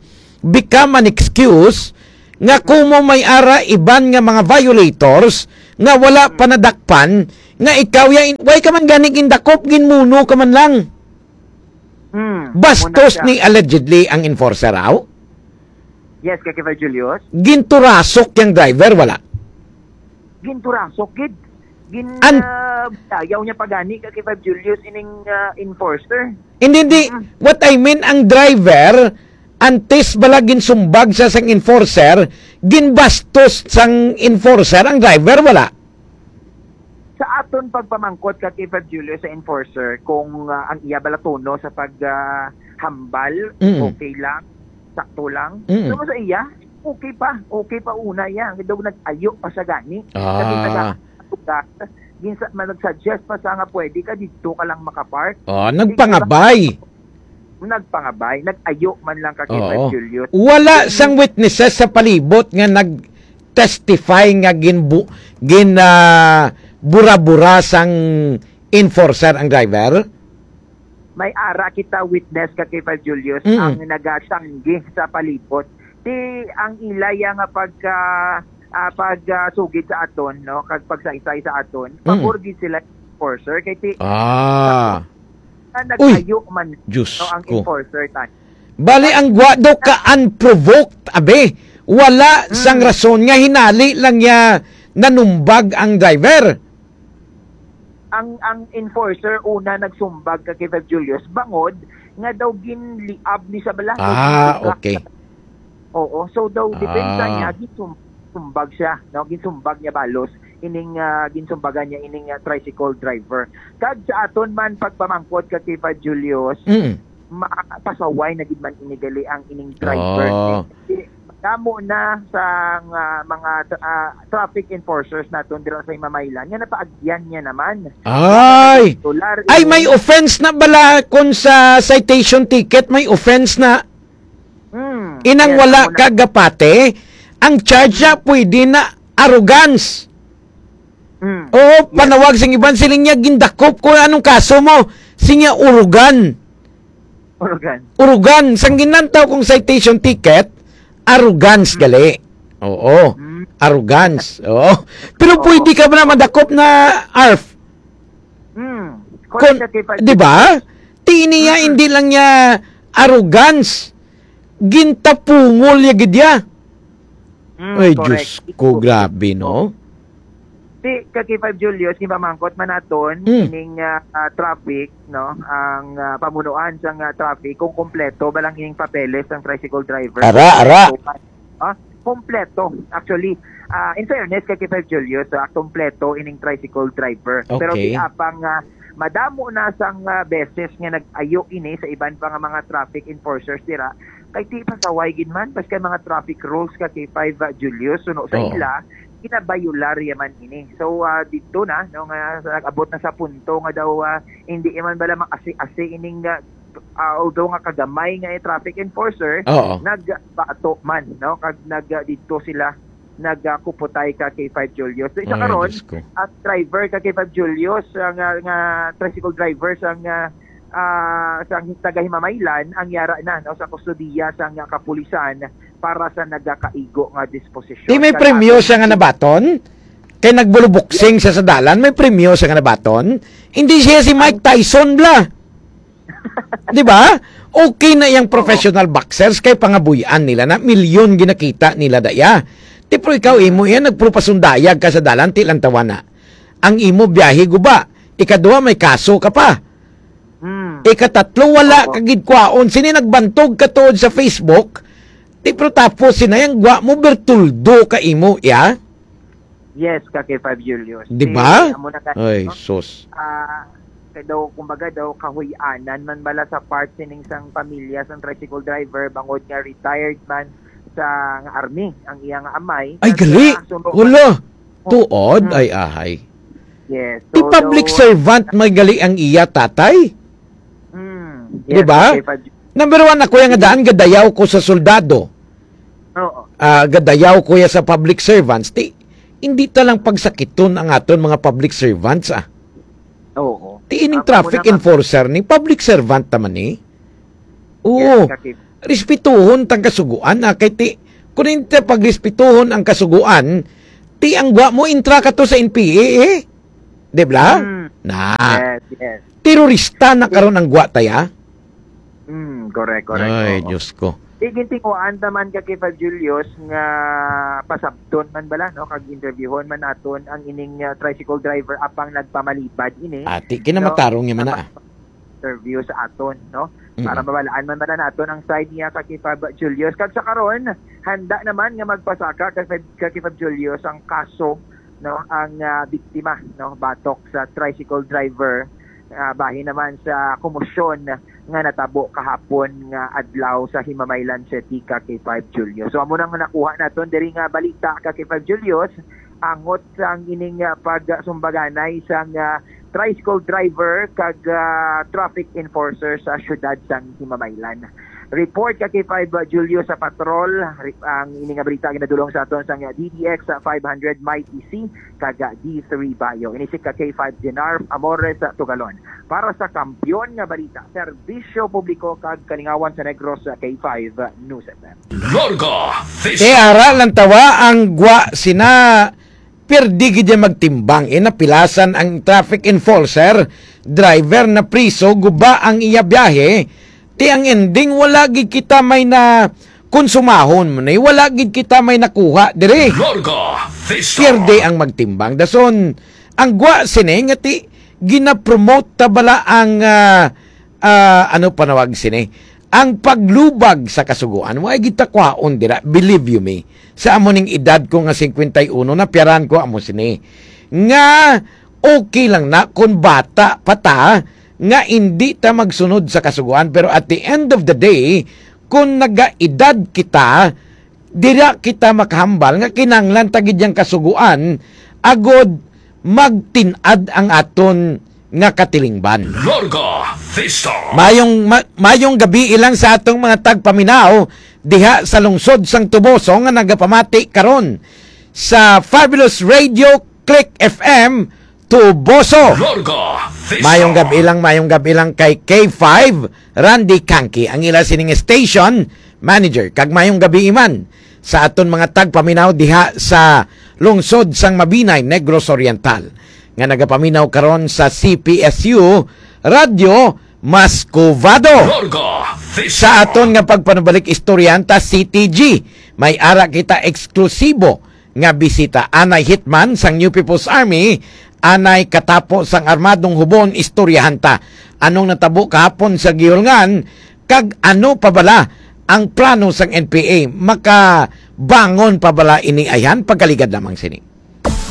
become an excuse nga kumo may ara iban nga mga violators nga wala Hmm. pa nadakpan, nga ikaw ya, in-, why ka man gani gindakop, ginmuno ka man lang. Hmm, Bastos muna siya. ni allegedly ang enforcer, aw? Yes, Kaki Five Julius. Ginturasok yang driver, wala? Ginturasok, gid. Gin, An- ah, dayaw niya pagani, Kaki Five Julius, ining, ah, enforcer. Hindi, hindi. Mm. What I mean, ang driver, antes bala ginsumbag sa sang enforcer, ginbastos sang enforcer ang driver, wala? Sa aton pagpamangkot, Kaki Five Julius, sa enforcer, kung, ah, ang iya bala tono sa pag, ah, hambal, Mm. okay lang, sakto lang. Mm. So, sa iya, okay pa, okay pa una iya. Daw nag-ayo pa siya gani. Ah. Kasi taga lugar, ginsa-, ma-, nag-suggest pa siya nga pwede ka dito ka lang makapark. Ah, Sige, nagpangabay. Nagpangabay, nag-ayo man lang, Kaki Oo. Five Julius. Wala Mm. sang witnesses sa palibot nga nag-testify nga ginbu-, gin, ah, bura-bura sang enforcer ang driver? May ara kita witness, Kaki Five Julius, Mm. ang nagatanggi sa palibot. Ti ang ilaya nga pagka, ah, pag, ah, sugid sa aton, no, kag pagsaysay sa aton, Mm. pabor gid sila enforcer. Kay ti Ah. na Uy, nag-ayo man, Diyos no, ang ko. enforcer tan. Bali, ang gwa daw ka unprovoked, abe. Wala sang Mm. rason nga hinali lang niya nanumbag ang driver. Ang, ang enforcer una nagsumbag, Kaki Five Julius, bangod nga daw ginliab ni sa bala. Ah, Ginsumbag. okay. Oo, so daw depensa Ah. niya, ginsum-, sumbag siya, no? Ginsumbag niya balos ining, ah, ginsumbagan niya ining, ah, tricycle driver. Kag sa aton man pagpamangkot, Kaki Five Julius, Mm. ma-, pasaway na gid man ini gali ang ining driver. Oh. Di, damo na sa nga mga tra-, ah, traffic enforcers naton dira sa Himamaylan nga napaagyan niya naman. Ay! Regular Ay, ini. May offense na bala kung sa citation ticket, may offense na. Hmm. Inang Yes, wala amo na. Ka gapate, ang charge niya pwede na arrogance. Hmm. Oo, Yes. Panawag sing iban, siling niya, "Gindakop ko, anong kaso mo?" Sinya, "Urugan." Urugan. Urugan. Sang ginantaw kong citation ticket, arrogance Hmm. gali. Oo. Hmm. Arrogance. Oo. Pero Oo. Pwede ka ba na madakop na arf? Hmm. Correct Kon-, ka, Kay Five di ba? Ti niya, Mm. hindi lang niya arrogance. Gintapungol niya gid ya. Mm, Ay, correct. Diyos ko, grabe, no? Ti, Kaki Five Julius, ginpamangkot man naton, Mm. ining, ah, ah, traffic, no? Ang, ah, pamunuan sang, ah, traffic, kung kompleto ba lang ining papeles sang tricycle driver. Ara, ara. Kompleto man. Ah, kompleto. Actually, ah, in fairness kay Kay Five Julius, ah, kompleto ining tricycle driver. Pero Okay. Ti apang, ah, madamo na sang, ah, beses nga nag-ayo ini sa iban pa nga mga traffic enforcers dira, kay ti pasaway gid man, basta mga traffic rules ka Kay Five, ah, Julius, suno sa Oo. ila, ginabayular ya man ini. So, ah, dito na, no, nga sa, nag-abot na sa punto nga daw, ah, hindi man bala maasi-asi ining, ah, ah, although nga kagamay nga traffic enforcer, Oo. nagbato man, no? Kag nag, ah, didto sila nagakupotay ka Kay Five Julius. So, isa Ay, karon, Diyos ko. Ang driver ka Kay Five Julius, ah, nga, nga tricycle driver sa nga, ah, sa taga Himamaylan, ang yara na, no, sa kustodiya sa nga kapulisan para sa nagakaigo nga disposisyon. Di may Kag premyo ato siya nga nabaton? Kay nagbuluboksing siya sa dalan, may premyo siya nga nabaton? Hindi siya si Mike Tyson, bla. Di ba? Okay na yang Oo. Professional boxers kay pangabuy-an nila na, milyon ginakita nila daya. Ti pero ikaw, imo yan, nagpurupasundayag ka sa dalan, ti lang tawana. Ang imo biyahe guba. Ikaduha, may kaso ka pa. Hmm. Ikatatlo, wala Oo. ka gid kwaon. Sini nagbantog ka tuod sa Facebook. Ti pero tapos sinayang gwa mo, bertuldo ka imo, ya? Yes, ka Kay Five Julius. Di ba? Ti, amo na ka, Ay, no? Sus. Ah, kay daw, kumbaga daw, kahuy-anan man bala sa part sining sang pamilya sang tricycle driver, bangod nga retired man sa nga army ang iya nga amay. Ay, Kag, gali. Ah, suno Wala. Oh. Tuod, Hmm. ay, ahay. Yes. Ti So, public daw, servant may gali ang iya tatay? Hmm. Di Yes, ba? Ka Kay Five Julius. Number one, ako yung daan, gadayaw ko sa soldado. Oo. Ah, gadayaw ko ya sa public servants. Ti, Hindi ta lang pagsakiton ang aton mga public servants, ah. Oo. Ti ining Ang traffic una nga enforcer ni public servant naman ni. Oo. Yes, Kaki. Respetuhon tang kasuguan, ah, kay ti, kung hindi ta pagrespetuhon ang kasuguan, ti ang gwa mo intra ka to sa N P A, eh. Di ba? Mm. Na. Yes, yes. Terorista na karon ang gwa taya. Mm, correct, correct. Ay, Oo. Diyos ko. Igintinguhaan ta man ka kay Fab Julius nga pasabton man bala, no, kag interviewon man naton ang ining, ah, tricycle driver apang nagpamalibad ini, Ati, no? kinamatarong niya man na, ah. Interview sa aton, no? Mm. Para mabalaan man bala naton ang side niya ka kay Fab Julius. Kag sa karon, handa naman nga magpasaka ka kay, ka kay Fab Julius ang kaso, no, ang, ah, biktima, no, batok sa tricycle driver, ah, bahin naman sa komosyon nga natabo kahapon nga adlaw sa Himamaylan City, ka kay Five Julius. So, amo nang nakuha naton diri nga balita, ka kay Five Julius, angot sang ining, ah, pagsumbaganay sang, ah, tricycle driver kag, ah, traffic enforcer sa siyudad sang Himamaylan. Report ka kay Five, uh, Julio sa Patrol. Re-, ang ini nga balita ginadulong sa aton sang D D X five hundred Mighty C kag D three Bayo. Ini si ka K five Jenarf Amores sa Tugalon. Para sa Kampiyon nga Balita, Serbisyo Publiko kag Kalingawan sa Negros, K five News F M. Larga Vista. Te ara lang tawa ang gwa sina Pirdi gid niya magtimbang, eh, napilasan ang traffic enforcer, driver na priso, guba ang iya biyahe, ti ang ending, wala gid kita may na konsumahon mo ni, wala gid kita may nakuha diri. Larga Vista. Pierde ang magtimbang. Dason, ang gwa sini nga ti ginapromote ta bala ang, ah, ah, ano panawag sini? Ang paglubag sa kasugoan, wa gid ta kwaon dira, believe you me. Sa amo ning edad ko nga cincuenta y uno, napiyaran ko amo sini. Nga okay lang na kung bata pa ta, nga indi ta magsunod sa kasugoan, pero at the end of the day, kung nagaedad kita, dira kita makahambal nga kinahanglan ta gid yang kasugoan agod magtin-ad ang aton nga katilingban. Larga Vista. Mayong, ma-, mayong gabi ilang sa atong mga tagpaminaw diha sa lungsod sang Toboso nga nagapamati karon sa Fabulous Radio Click F M Toboso. Larga Vista. Mayong gabi lang, mayong gabi lang kay K five, Randy Kanki, ang ila sining station manager. Kag mayong gabi man sa aton mga tagpaminaw diha sa lungsod sang Mabinay, Negros Oriental, nga nagapaminaw karon sa C P S U Radyo Mascovado. Larga Vista. Sa aton nga pagpanubalik istoryahan ta, C T G, may ara kita eksklusibo nga bisita. Anay hitman sang New People's Army, anay katapo sang armadong hubon, istoryahan ta. Anong natabo kahapon sa Gihulngan, kag ano pa bala ang plano sang N P A? Makabangon pa bala ini ayhan? Pagkaligad lamang sini.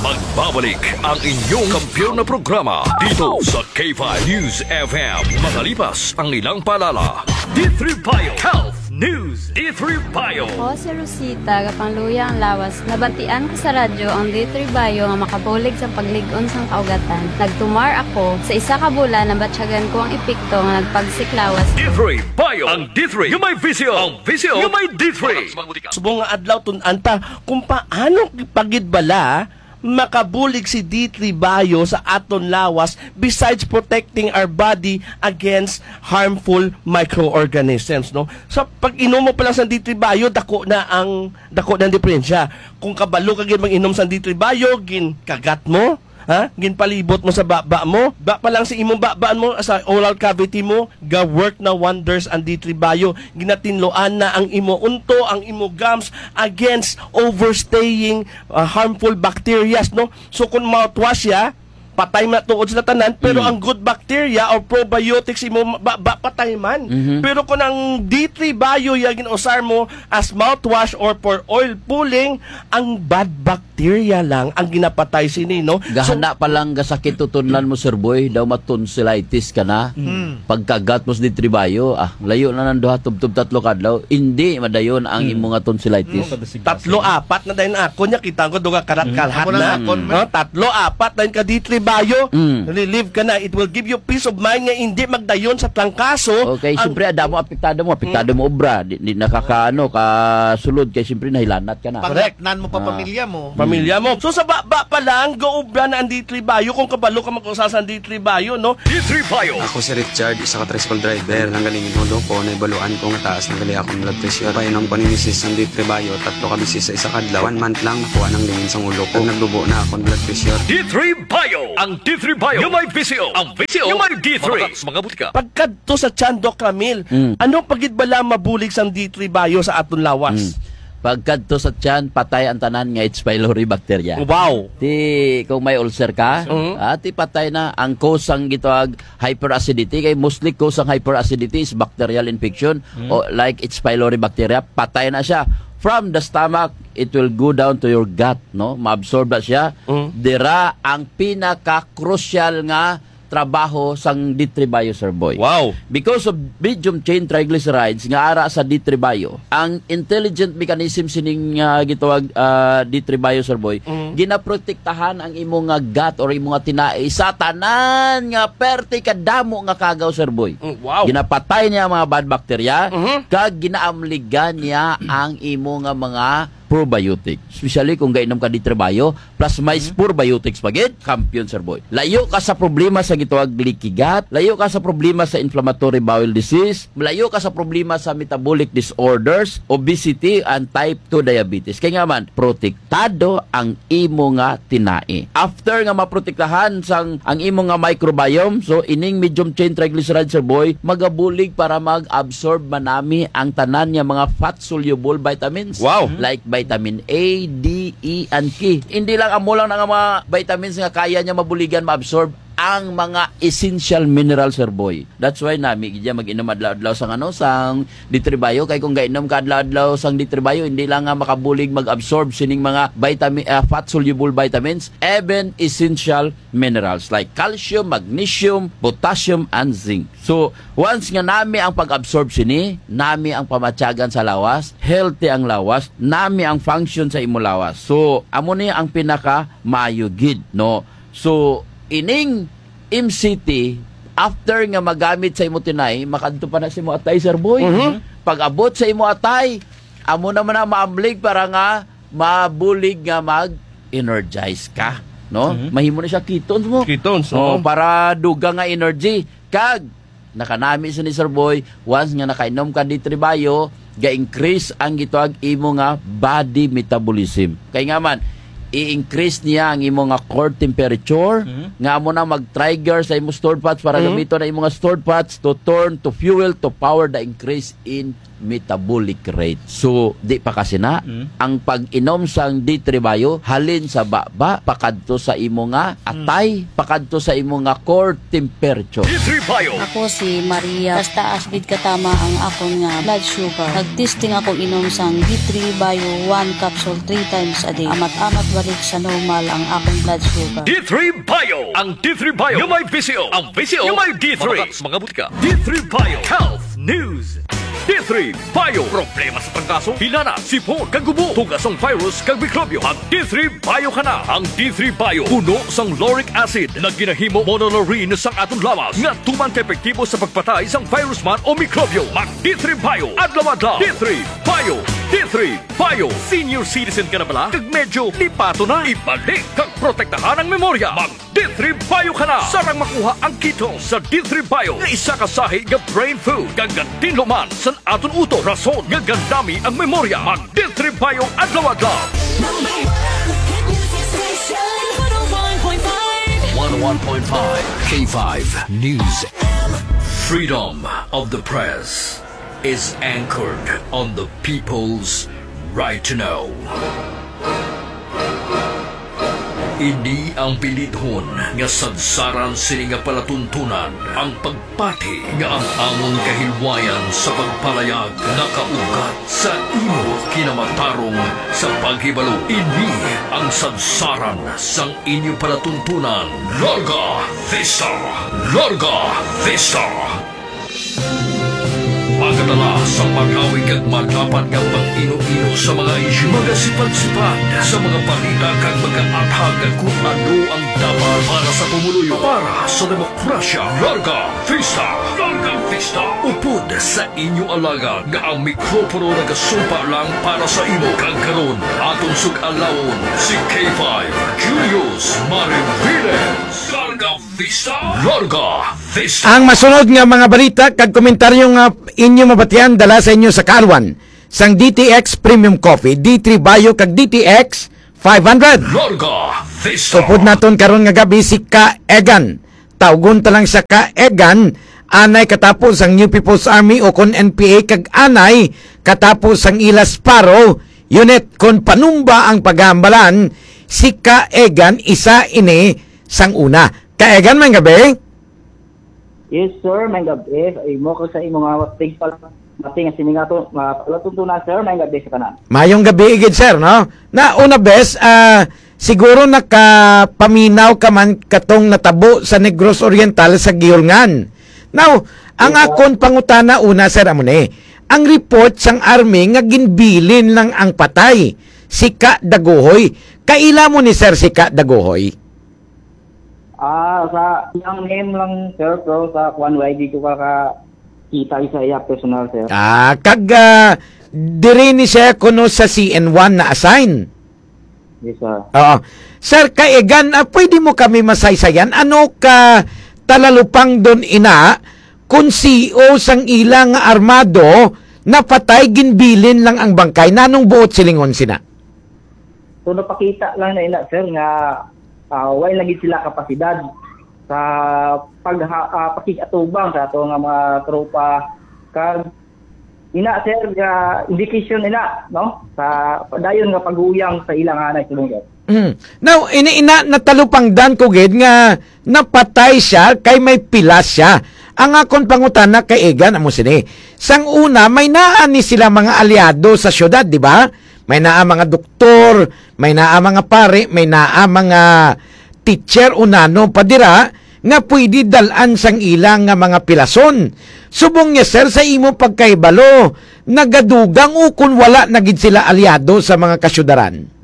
Magbabalik ang inyong kampiyon na programa dito sa K five News F M. Makalipas ang ilang paalala. D three Bio Health News, D three Bio. Ako si Rosita, Gapangluya ang Lawas. Nabatian ko sa radyo ang D three Bio nga makabulig sa paglig-on sang kaugatan. Nagtumar ako. Sa isa ka bulan, nabatyagan ko ang epekto nga nagpagsiklawas ko. D three Bio, ang D three nga may visyo. Ang visyo nga may D three. Subong nga adlaw, tun-an ta kung paano pa gid bala makabulig si D three Bio sa aton lawas, besides protecting our body against harmful microorganisms, no? Sa pag-inom mo pa lang sa D three Bio, dako na ang, dako na ang diferensya. Kung kabalo ka gyud mag-inom sa D three Bio, ginkagat mo, ha? Ginpalibot mo sa baba mo, ba pa lang sa imong baba mo, sa oral cavity mo, ga-work na wonders ang D three Bio. Ginatinloan na ang imo unto, ang imo gums against overstaying, ah, harmful bacterias, no? So, kung mouthwash siya, patay man tuod sila tanan, pero Mm. ang good bacteria or probiotics imo ba, ba patay man. Mhm. Pero kung ang D three Bio ya gin-usar mo as mouthwash or for oil pulling, ang bad bacteria lang ang ginapatay sini, no? So, gahana pa lang gasakit tutunlan mo, Sir Boy, daw matonsillitis ka na. Mm. Pagkagat mo sa D three Bio, ah, layo na nang duha, tubtob tatlo ka adlaw. Hindi madayon ang Mm. imo nga tonsillitis. Mm, kada sige, Tatlo, sige. apat na dayon ako niya, kita ko duga karat-kalhat Amo na na. akon, Oh, tatlo, apat dayon ka D three Bayo, Mm. relieve ka na. It will give you peace of mind nga hindi magdayon sa trangkaso. Okay, Ang siyempre, adamo, apektado mo, apektado Mm. mo obra. Di, di nakakaano, kasulod kay siyempre nahilanat ka na. Correct. Panglatnan mo pa Ah. pamilya mo. Pamilya mo. So, sa baba pa lang, gaobra na ang D three Bayo kung kabalo ka mag-usa sa D three Bayo, no? D three Bayo. Ako si Richard, isa ka tricycle driver. Nang galing ang ulo ko, naibaluan ko nga taas na gali akong blood pressure. Painom ko ni misis sang D three Bayo, tatlo ka beses sa isa ka adlaw. One month lang, nakuha nang lingin sang ulo ko. Naglubo na akong blood pressure. D three Bayo. Ang D three Bayo. Yung may V C O. Ang V C O. Yung may D three. Mga butika. Pagkadto sa tiyan, Doc Ramil, Mm. ano pa gid bala mabulig sang D three Bayo sa aton lawas? Mm. Pagkadto sa tiyan, patay ang tanan nga H. pylori bacteria. Wow! Ti, kung may ulcer ka, Mm. ah, ti patay na ang cause sang gitawag hyperacidity. Kay mostly cause sang hyperacidity is bacterial infection Mm. o like H. pylori bacteria, patay na siya. From the stomach, it will go down to your gut, no? Maabsorb na siya. Mm. Dira ang pinaka-crucial nga trabaho sang D three Bayo, Sir Boy. Wow. Because of medium chain triglycerides nga ara sa D three Bayo, ang intelligent mechanism sining, ah, gitawag, ah, D three Bayo, Sir Boy, Mm. ginaprotektahan ang imo nga gut or imo nga tinai sa tanan nga perti kadamo nga kagaw, Sir Boy. Mm, wow. Ginapatay niya ang mga bad bacteria, Mhm. kag ginaamligan niya ang imo nga mga probiotic. Especially kung gainom ka D three Bayo, plus may Mhm. probiotics pa gid, kampiyon, Sir Boy. Layo ka sa problema sa gitawag leaky gut, layo ka sa problema sa inflammatory bowel disease, layo ka sa problema sa metabolic disorders, obesity, and type two diabetes. Kay nga man, protektado ang imo nga tinai. After nga maprotektahan sang ang imo nga microbiome, so ining medium chain triglyceride, Sir Boy, magabulig para mag-absorb manami ang tanan nga mga fat-soluble vitamins. Wow. Like vitamin A, D, E, and K. Hindi lang amo lang na nga mga vitamins nga kaya niya mabuligan, maabsorb ang mga essential minerals, Sir Boy. That's why nami gid mag-inom adlaw-adlaw sang ano, sang D three Bayo. Kay kung gainom ka adlaw-adlaw sang D three Bayo, hindi lang nga makabulig mag-absorb sining mga vitamin, ah, fat-soluble vitamins, even essential minerals like calcium, magnesium, potassium, and zinc. So, once nga nami ang pag-absorb sini, nami ang pamatyagan sa lawas, healthy ang lawas, nami ang function sa imo lawas. So, amo ni ang pinaka maayo gid, no? So, ining M C T, after nga magamit sa imo tinai, makadto pa na sa imo atay, Sir Boy. Mhm. Pag-abot sa imo atay, amo naman ang maamlig para nga mabulig nga mag-energize ka, no? Mhm. Mahimo na siya ketones mo. Ketones, Oh, oo. para dugang nga energy. Kag nakanami sa ni Sir Boy, once nga nakainom ka D three Bayo, ga-increase ang gitawag imo nga body metabolism. Kay nga man, i-increase niya ang imo nga core temperature, Mhm. nga amo na mag-trigger sa imo stored fats para Mhm. gamiton ang imo nga stored fats to turn to fuel to power the increase in metabolic rate. So, di pa kasi na, Mm. ang pag-inom sang D three Bayo, halin sa baba, pakadto sa imo nga Mm. atay, pakadto sa imo nga core temperature. D three Bayo. Ako si Maria. Taas-taas gid katama ang akon nga blood sugar. Nag-testing ako inom sang D three Bayo, one capsule three times a day. Amat-amat balik sa normal ang akong blood sugar. D three Bayo. Ang D three Bayo. Yung may V C O. Ang V C O. Yung may D three. Mga butika. D three Bayo Health News. D three Bayo. Problema sa trangkaso, hilanat, sipon, kag gubo, tugas ang virus kag mikrobyo. Mag D three Bayo ka na. Ang D three Bayo puno sang lauric acid na ginahimo monolaurin sang aton lawas nga tuman ka epektibo sa pagpatay sang virus man o mikrobyo. Mag D three Bayo adlaw-adlaw. D three Bayo. D three Bayo. Senior citizen ka na bala? Kag medyo lipato na? Ibalik kag protektahan ang memorya. Mag D three Bayo ka na. Sarang makuha ang ketones sa D three Bayo nga isa ka sahi nga brain food, kag gatinlo man sa aton utok, rason nga gandami ang memorya. Mag D three Bayo adlaw-adlaw. Number one hit music station, one oh one point five. One oh one point five K five News. Freedom of the press is anchored on the people's right to know. Ini ang bilidhon nga sadsaran sini nga palatuntunan, ang pagpati nga ang amon kahilwayan sa pagpalayag nakaugat sa imo kinamatarong sa paghibalo. Ini ang sadsaran sang inyo palatuntunan. Larga Vista! Larga Vista! Pagadala sa malawig kag malapad nga pag-ino-ino sa mga isyu, magasipadsipad sa mga balita kag magaathag kon ano ang dapat para sa pumuluyo. Para sa demokrasya, Larga Vista! Larga Vista! Upod sa inyo alagad nga ang mikropono nagasumpa lang para sa imo. Kag karon, aton sug-alawon si K five, Julius Mariviles. Larga Vista! Larga Vista! Ang masunod nga mga balita kag komentaryo nga inyo mabatian dala sa inyo sa kaalwan sang D T X Premium Coffee, D three Bio kag D T X five hundred. Larga Vista! Upod naton karon nga gabi si Ka Egan. Tawgon ta lang siya Ka Egan, anay katapos ang New People's Army o kon N P A kag anay katapos ang ila Sparrow Unit. Kon panumba ang paghambalan, si Ka Egan isa ini sang una. Ka Egan, may gabi? Yes, sir. May gabi. Imo ko sa imo nga tigpal-, mati nga sini nga to, nga palatuntunan, sir. May gabi sa tanan. Mayong gabi gid, sir, no? Na una, bes, ah, siguro nakapaminaw ka man katong natabo sa Negros Oriental sa Giholngan. Now, ang Yes, sir. akon pangutana una, sir, amo ni, ang report sang army nga ginbilin lang ang patay, si Ka Daguhoy. Kaila mo ni, sir, si Ka Daguhoy? Ah, sa iyang name lang, sir, pero sa kuwan, wala, di ko kakakita sa iya personal, sir. Ah, kag, ah, diri ni siya kuno sa C N one na-assign? Yes, sir. Oo. Sir, Ka Egan, ah, pwede mo kami masaysayan? Ano ka talalupang don ina kung C E O sang ila nga armado napatay, ginbilin lang ang bangkay? Nanong buot silingon sina? So, napakita lang na ina, sir, nga, ah, way lagi sila kapasidad sa pag, ah, pakig-atubang sa ato nga mga tropa. Kag ina, sir, nga indication ina, no? Sa padayon nga paguyang sa ilang anay, subong, sir. Mm. Now, ini ina natalupangdan ko gid nga napatay siya kay may pilas siya. Ang akon pangutana, Ka Egan, amo sini. Sang una, may naa ni sila mga aliado sa syudad, di ba? May naa mga doktor, may naa mga pare, may naa mga teacher o nano pa dira nga pwede dal-an sang ila nga mga pilason. Subong niya, sir, sa imo pagkahibalo, nagadugang o kun wala na gid sila aliado sa mga kasyudaran?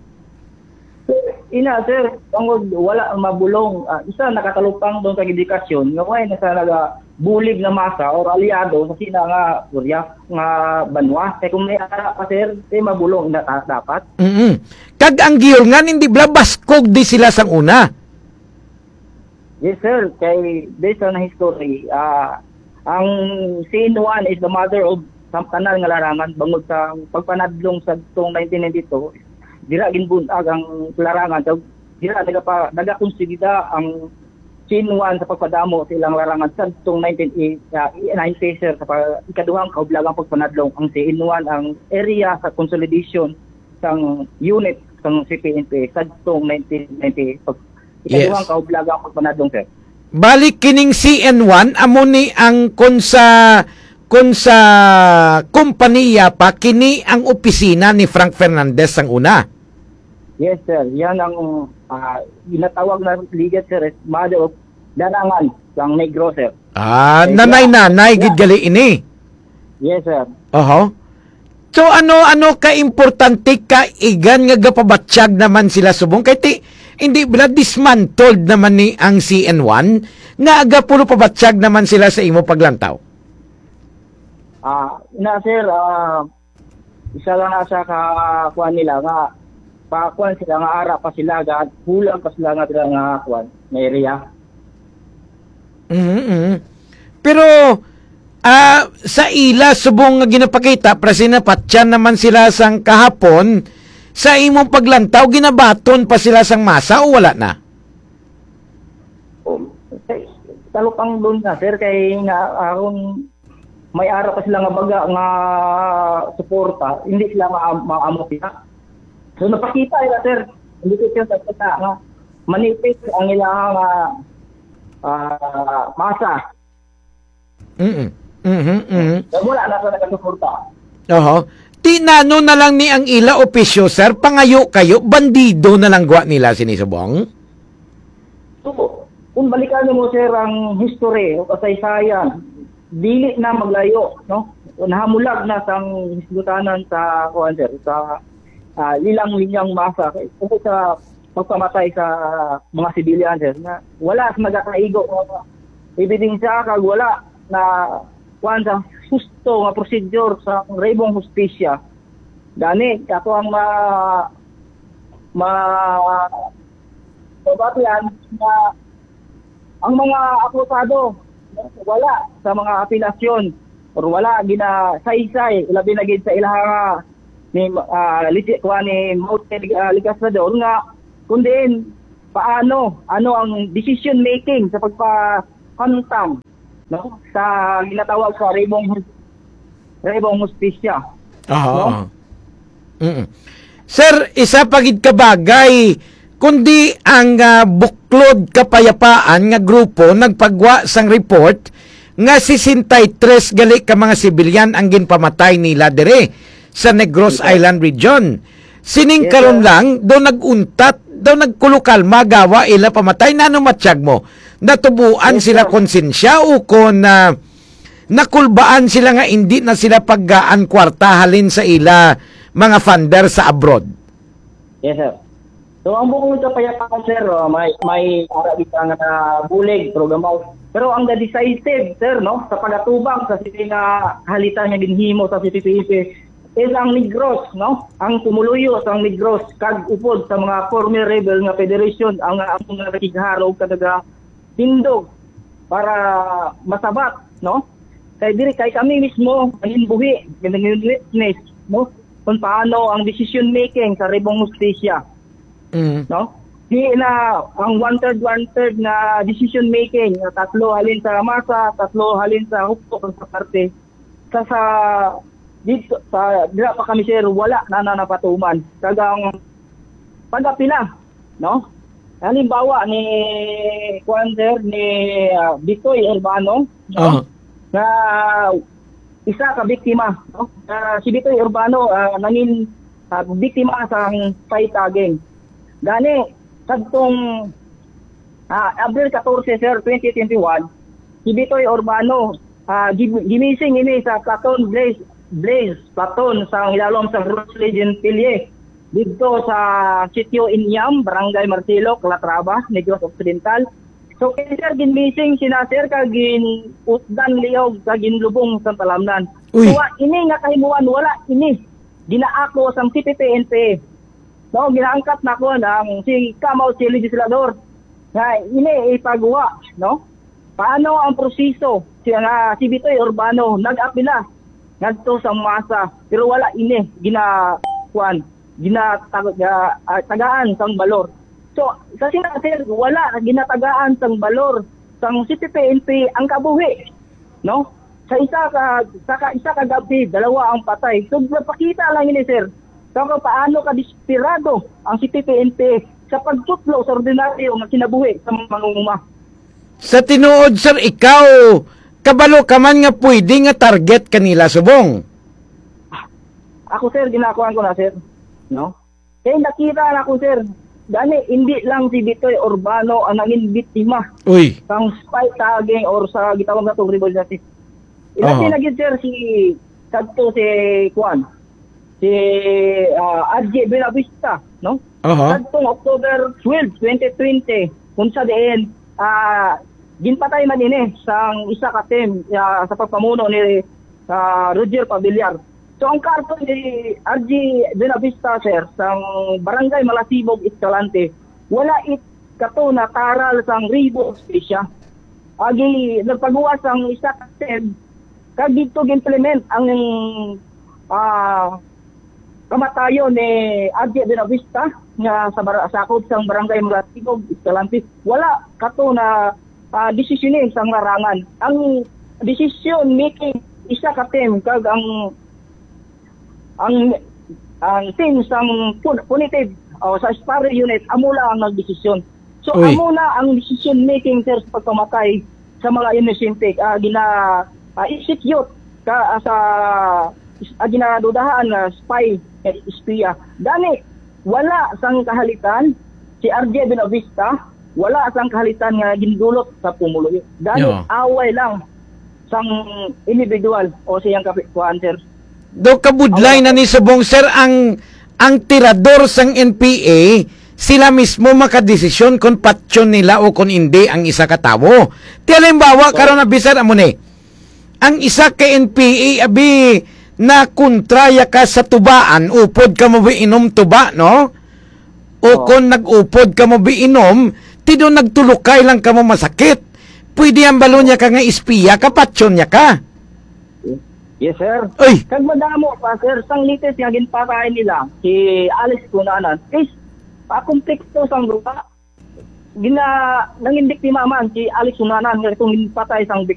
Ina, sir, tungod wala mabulong. Ah, isa, nakatalupang doon sa edukasyon, nga way na sa nagabulig nga masa or aliado sa sina nga, Surya, nga banwa. Kay kung may ara pa, sir, kay mabulong na ta-, dapat. Mm-mm. Kag ang Giholngan, hindi bala baskog di sila sang una? Yes, sir. Kay based on history, ah, ang C N one is the mother of sa tanan nga larangan, bangod sa pagpanadlong sa tong nineteen ninety-two, dira ginbun-ag ang larangan. So, dira nagapa-, nagakonsolida ang C N one sa pagpadamo sa ilang larangan sa tong nineteen ninety, sir, sa pa-, ikaduhang kaublagang pagpanadlong. Ang C N one ang area sa consolidation sang unit sang C P N P A sa tong nineteen ninety, pag Yes. Ikaduhang kaublaga ang pagpanadlong, sir. Balik kining C N one, amo ni ang kun sa, kun sa kompanya pa, kini ang opisina ni Frank Fernandez sang una. Yes, sir. Yan ang, ah, ginatawag na ligid, sir, is mother of larangan sang Negros, sir. Ah, Eh, nanay-nanay gid gali ini. Yes, sir. Oho. So, ano, ano ka importante, Ka Egan, nga gapabatyag naman sila subong? Kay ti, hindi bala dismantled naman ni ang C N one, nga agapulo pabatyag naman sila sa imo paglantaw? Ah, na, sir, ah, isa lang na sa ka-, kuwan nila nga, pa, kuwan sila nga ara pa sila, ga-, kulang pa sila nga, sila nga, kuwan, nga area. Mhm, mhm. Pero, ah, sa ila subong nga ginapakita, para sinapatyan naman sila sang kahapon, sa imong paglantaw, ginabaton pa sila sang masa o wala na? Um, kay, talupang doon na, sir, kay nga, aron may ara pa sila nga baga nga suporta, hindi sila ma-, maamot na. So, napakita nila, sir, hindi ko siya sa kita nga manipis ang ilang, ah, ah, masa. Mm-mm. Mhm, mhm. Kaya wala na sa nagasuporta. Oho. Ti nano na lang ni ang ila opisyo, sir? Pangayo kayo, bandido na lang gwa nila sini subong? So, kung balikan mo, sir, ang history o kasaysayan, dili na maglayo, no? nahamulag na sang hisgutanan sa, kuwan, sir, sa, ah, ilang linyang masa kay tungkol sa pagpamatay sa mga civilian, sir, na wala sa nagakaigo nga ebidensya kag wala na, kuwan, sa husto nga prosedur sa ribong hustisya. Gani, ato ang ma-, ma-, mabatian na ang mga akusado wala sa mga apilasyon or wala ginasaysay, labi na gid sa ilaha nga ni, ah, ligi-, kuha ni Maute, ah, Legislador nga kung diin paano, ano ang decision making sa pagpahamtang, no, sa ginatawag sa ribong, ribong hustisya. Aha, no? Aha. Mm. Sir, isa pa gid ka bagay, kundi ang, ah, Buklod Kapayapaan nga grupo nagpagwa sang report nga sesenta y tres gali ka mga sibilyan ang ginpamatay nila diri sa Negros Yes, sir. Island Region. Sining Yes, karon sir. lang, do nag-untat, do nagkulukalma gawa ila pamatay. Nano matyag mo? Natubuan Yes, sila sir. konsensya o kon, ah, nakulbaan sila nga indi na sila paggaan kwarta halin sa ila mga funder sa abroad? Yes, sir. So, ang Buklod Kapayapaan, sir, oh, may, may ara di ka nga bulig, pero gamaw. Pero ang the decisive, sir, no, sa pagatubang sa sini nga halitan nga ginhimo sa C P P N P is ang Negros, no? Ang pumuluyo sa Negros kag upod sa mga former rebel nga federation ang, ang mga nakigharo kag naga-, tindog para masabat, no? Kay diri kay kami mismo nangin buhi, nangin witness, no? Kung paano ang decision making sa ribong hustisya, Mm. no? Di na ang one-third, one-third nga decision making, nga tatlo halin sa masa, tatlo halin sa hukbo, kag sa parte. Sa, sa, dito, sa, dira pa kami, sir, wala na, na napatuman. Kag ang pag-apila, no? Halimbawa ni, kuwan, sir, ni, ah, Bitoy Urbano, no? Aha. Na isa ka biktima, no? Ah, si Bitoy Urbano, ah, nangin, ah, biktima sa spy tagging. Gani, kadtong, ah, Abril katorse, sir, twenty twenty-one, si Bitoy Urbano, ah, gi-, gimising ini sa Platon Blaze, Blaze Platon sa ilalom sa Rose Legend Pilye, didto sa Sitio Inyam, Barangay Marcelo, Calatrava, Negros Occidental. So, kay sir, ginmising sina sir, kag gin-utdan liog, kag ginlubong sa talamnan. Uy. So, wa-, ini nga kahimuan, wala ini ginaako sang C P P N P. No, ginaangkat na ko ang si Kamaw, si legislador, nga ini ipagawa, no? Paano ang proseso siya nga si Bitoy Urbano nag-apila ngadto sa masa, pero wala ini gina-, kuwan, ginatag-, ah, ah, tagaan sang balor. So, sa sina, sir, wala ginatagaan sang balor sang C P P N P ang kabuhi, no? Sa isa ka, sa ka, isa ka gabi, dalawa ang patay. So, nagpakita lang ini, sir, sa kung paano ka desperado ang C P P N P sa pagtutlo sa ordinaryo nga kinabuhi sa mga mangunguma. Sa tinuod, sir, ikaw, kabalo ka man nga pwede nga target kanila subong? Ako, sir, ginakuan ko na, sir. No? Kay nakita na ko, sir. Gani, hindi lang si Bitoy Urbano ang nangin biktima Uy. sang spy tagging or sa gitawag natong ribong hustisya. Ilabi Aha. na gid, sir, si kadto si kuan, si, ah, Archie Buenavista, no? Aha. Kadtong October twelve, twenty twenty, kung sa diin, ah, ginpatay man ini sang isa ka team, ah, sa pagpamuno ni, ah, Roger Pavillar. So, ang karton ni Archie Buenavista, sir, sang Barangay Malasibog, Escalante, wala it kato na taral sang ribong hustisya. Agi, nagpagawas ang isa ka team, kag dito gi-implement ang, ah, kamatayon ni Archie Buenavista nga sa bara-, sakop sang Barangay Malasibog, Escalante. Wala kato na, ah, desisyon sang larangan. Ang decision making isa ka team, kag ang, ang, ang team sang pun-, punitive o sa spy unit, amo lang ang nagdesisyon. So, Uy. amo na ang decision making, sir, sa pagpamatay sa mga inosente, ah, gina, ah, execute ka, ah, sa, ah, ginadudahan nga spy, eh, espiya. Gani, wala sang kahalitan si Archie Buenavista, wala sang kahalitan nga gindulot sa pumuluyo. Gani, Yeah. away lang. sang individual o siyang kapi-, kuan, sir. Do kabudlay na ni subong, sir, ang ang tirador sang N P A, sila mismo makadesisyon kon patyon nila o kon indi ang isa ka tawo. Ti halimbawa, karon abi, sir, amo ni. Ang isa ka N P A, abi, na kontraya ka sa tubaan, upod ka mo inom tuba, no? O kon nag-upod ka mo inom, ti do nagtulukay lang ka mo masakit. Pwede ang balo niya ka nga espiya, kapatyon niya ka. Yes, sir. Oy! Kag madamo pa, sir, sang latest nga ginpatay nila, si Alex Cunanan. Is, pakomplekto sang duha. Gina, nangin biktima man si Alex Cunanan nga itong ginpatay sang bik-,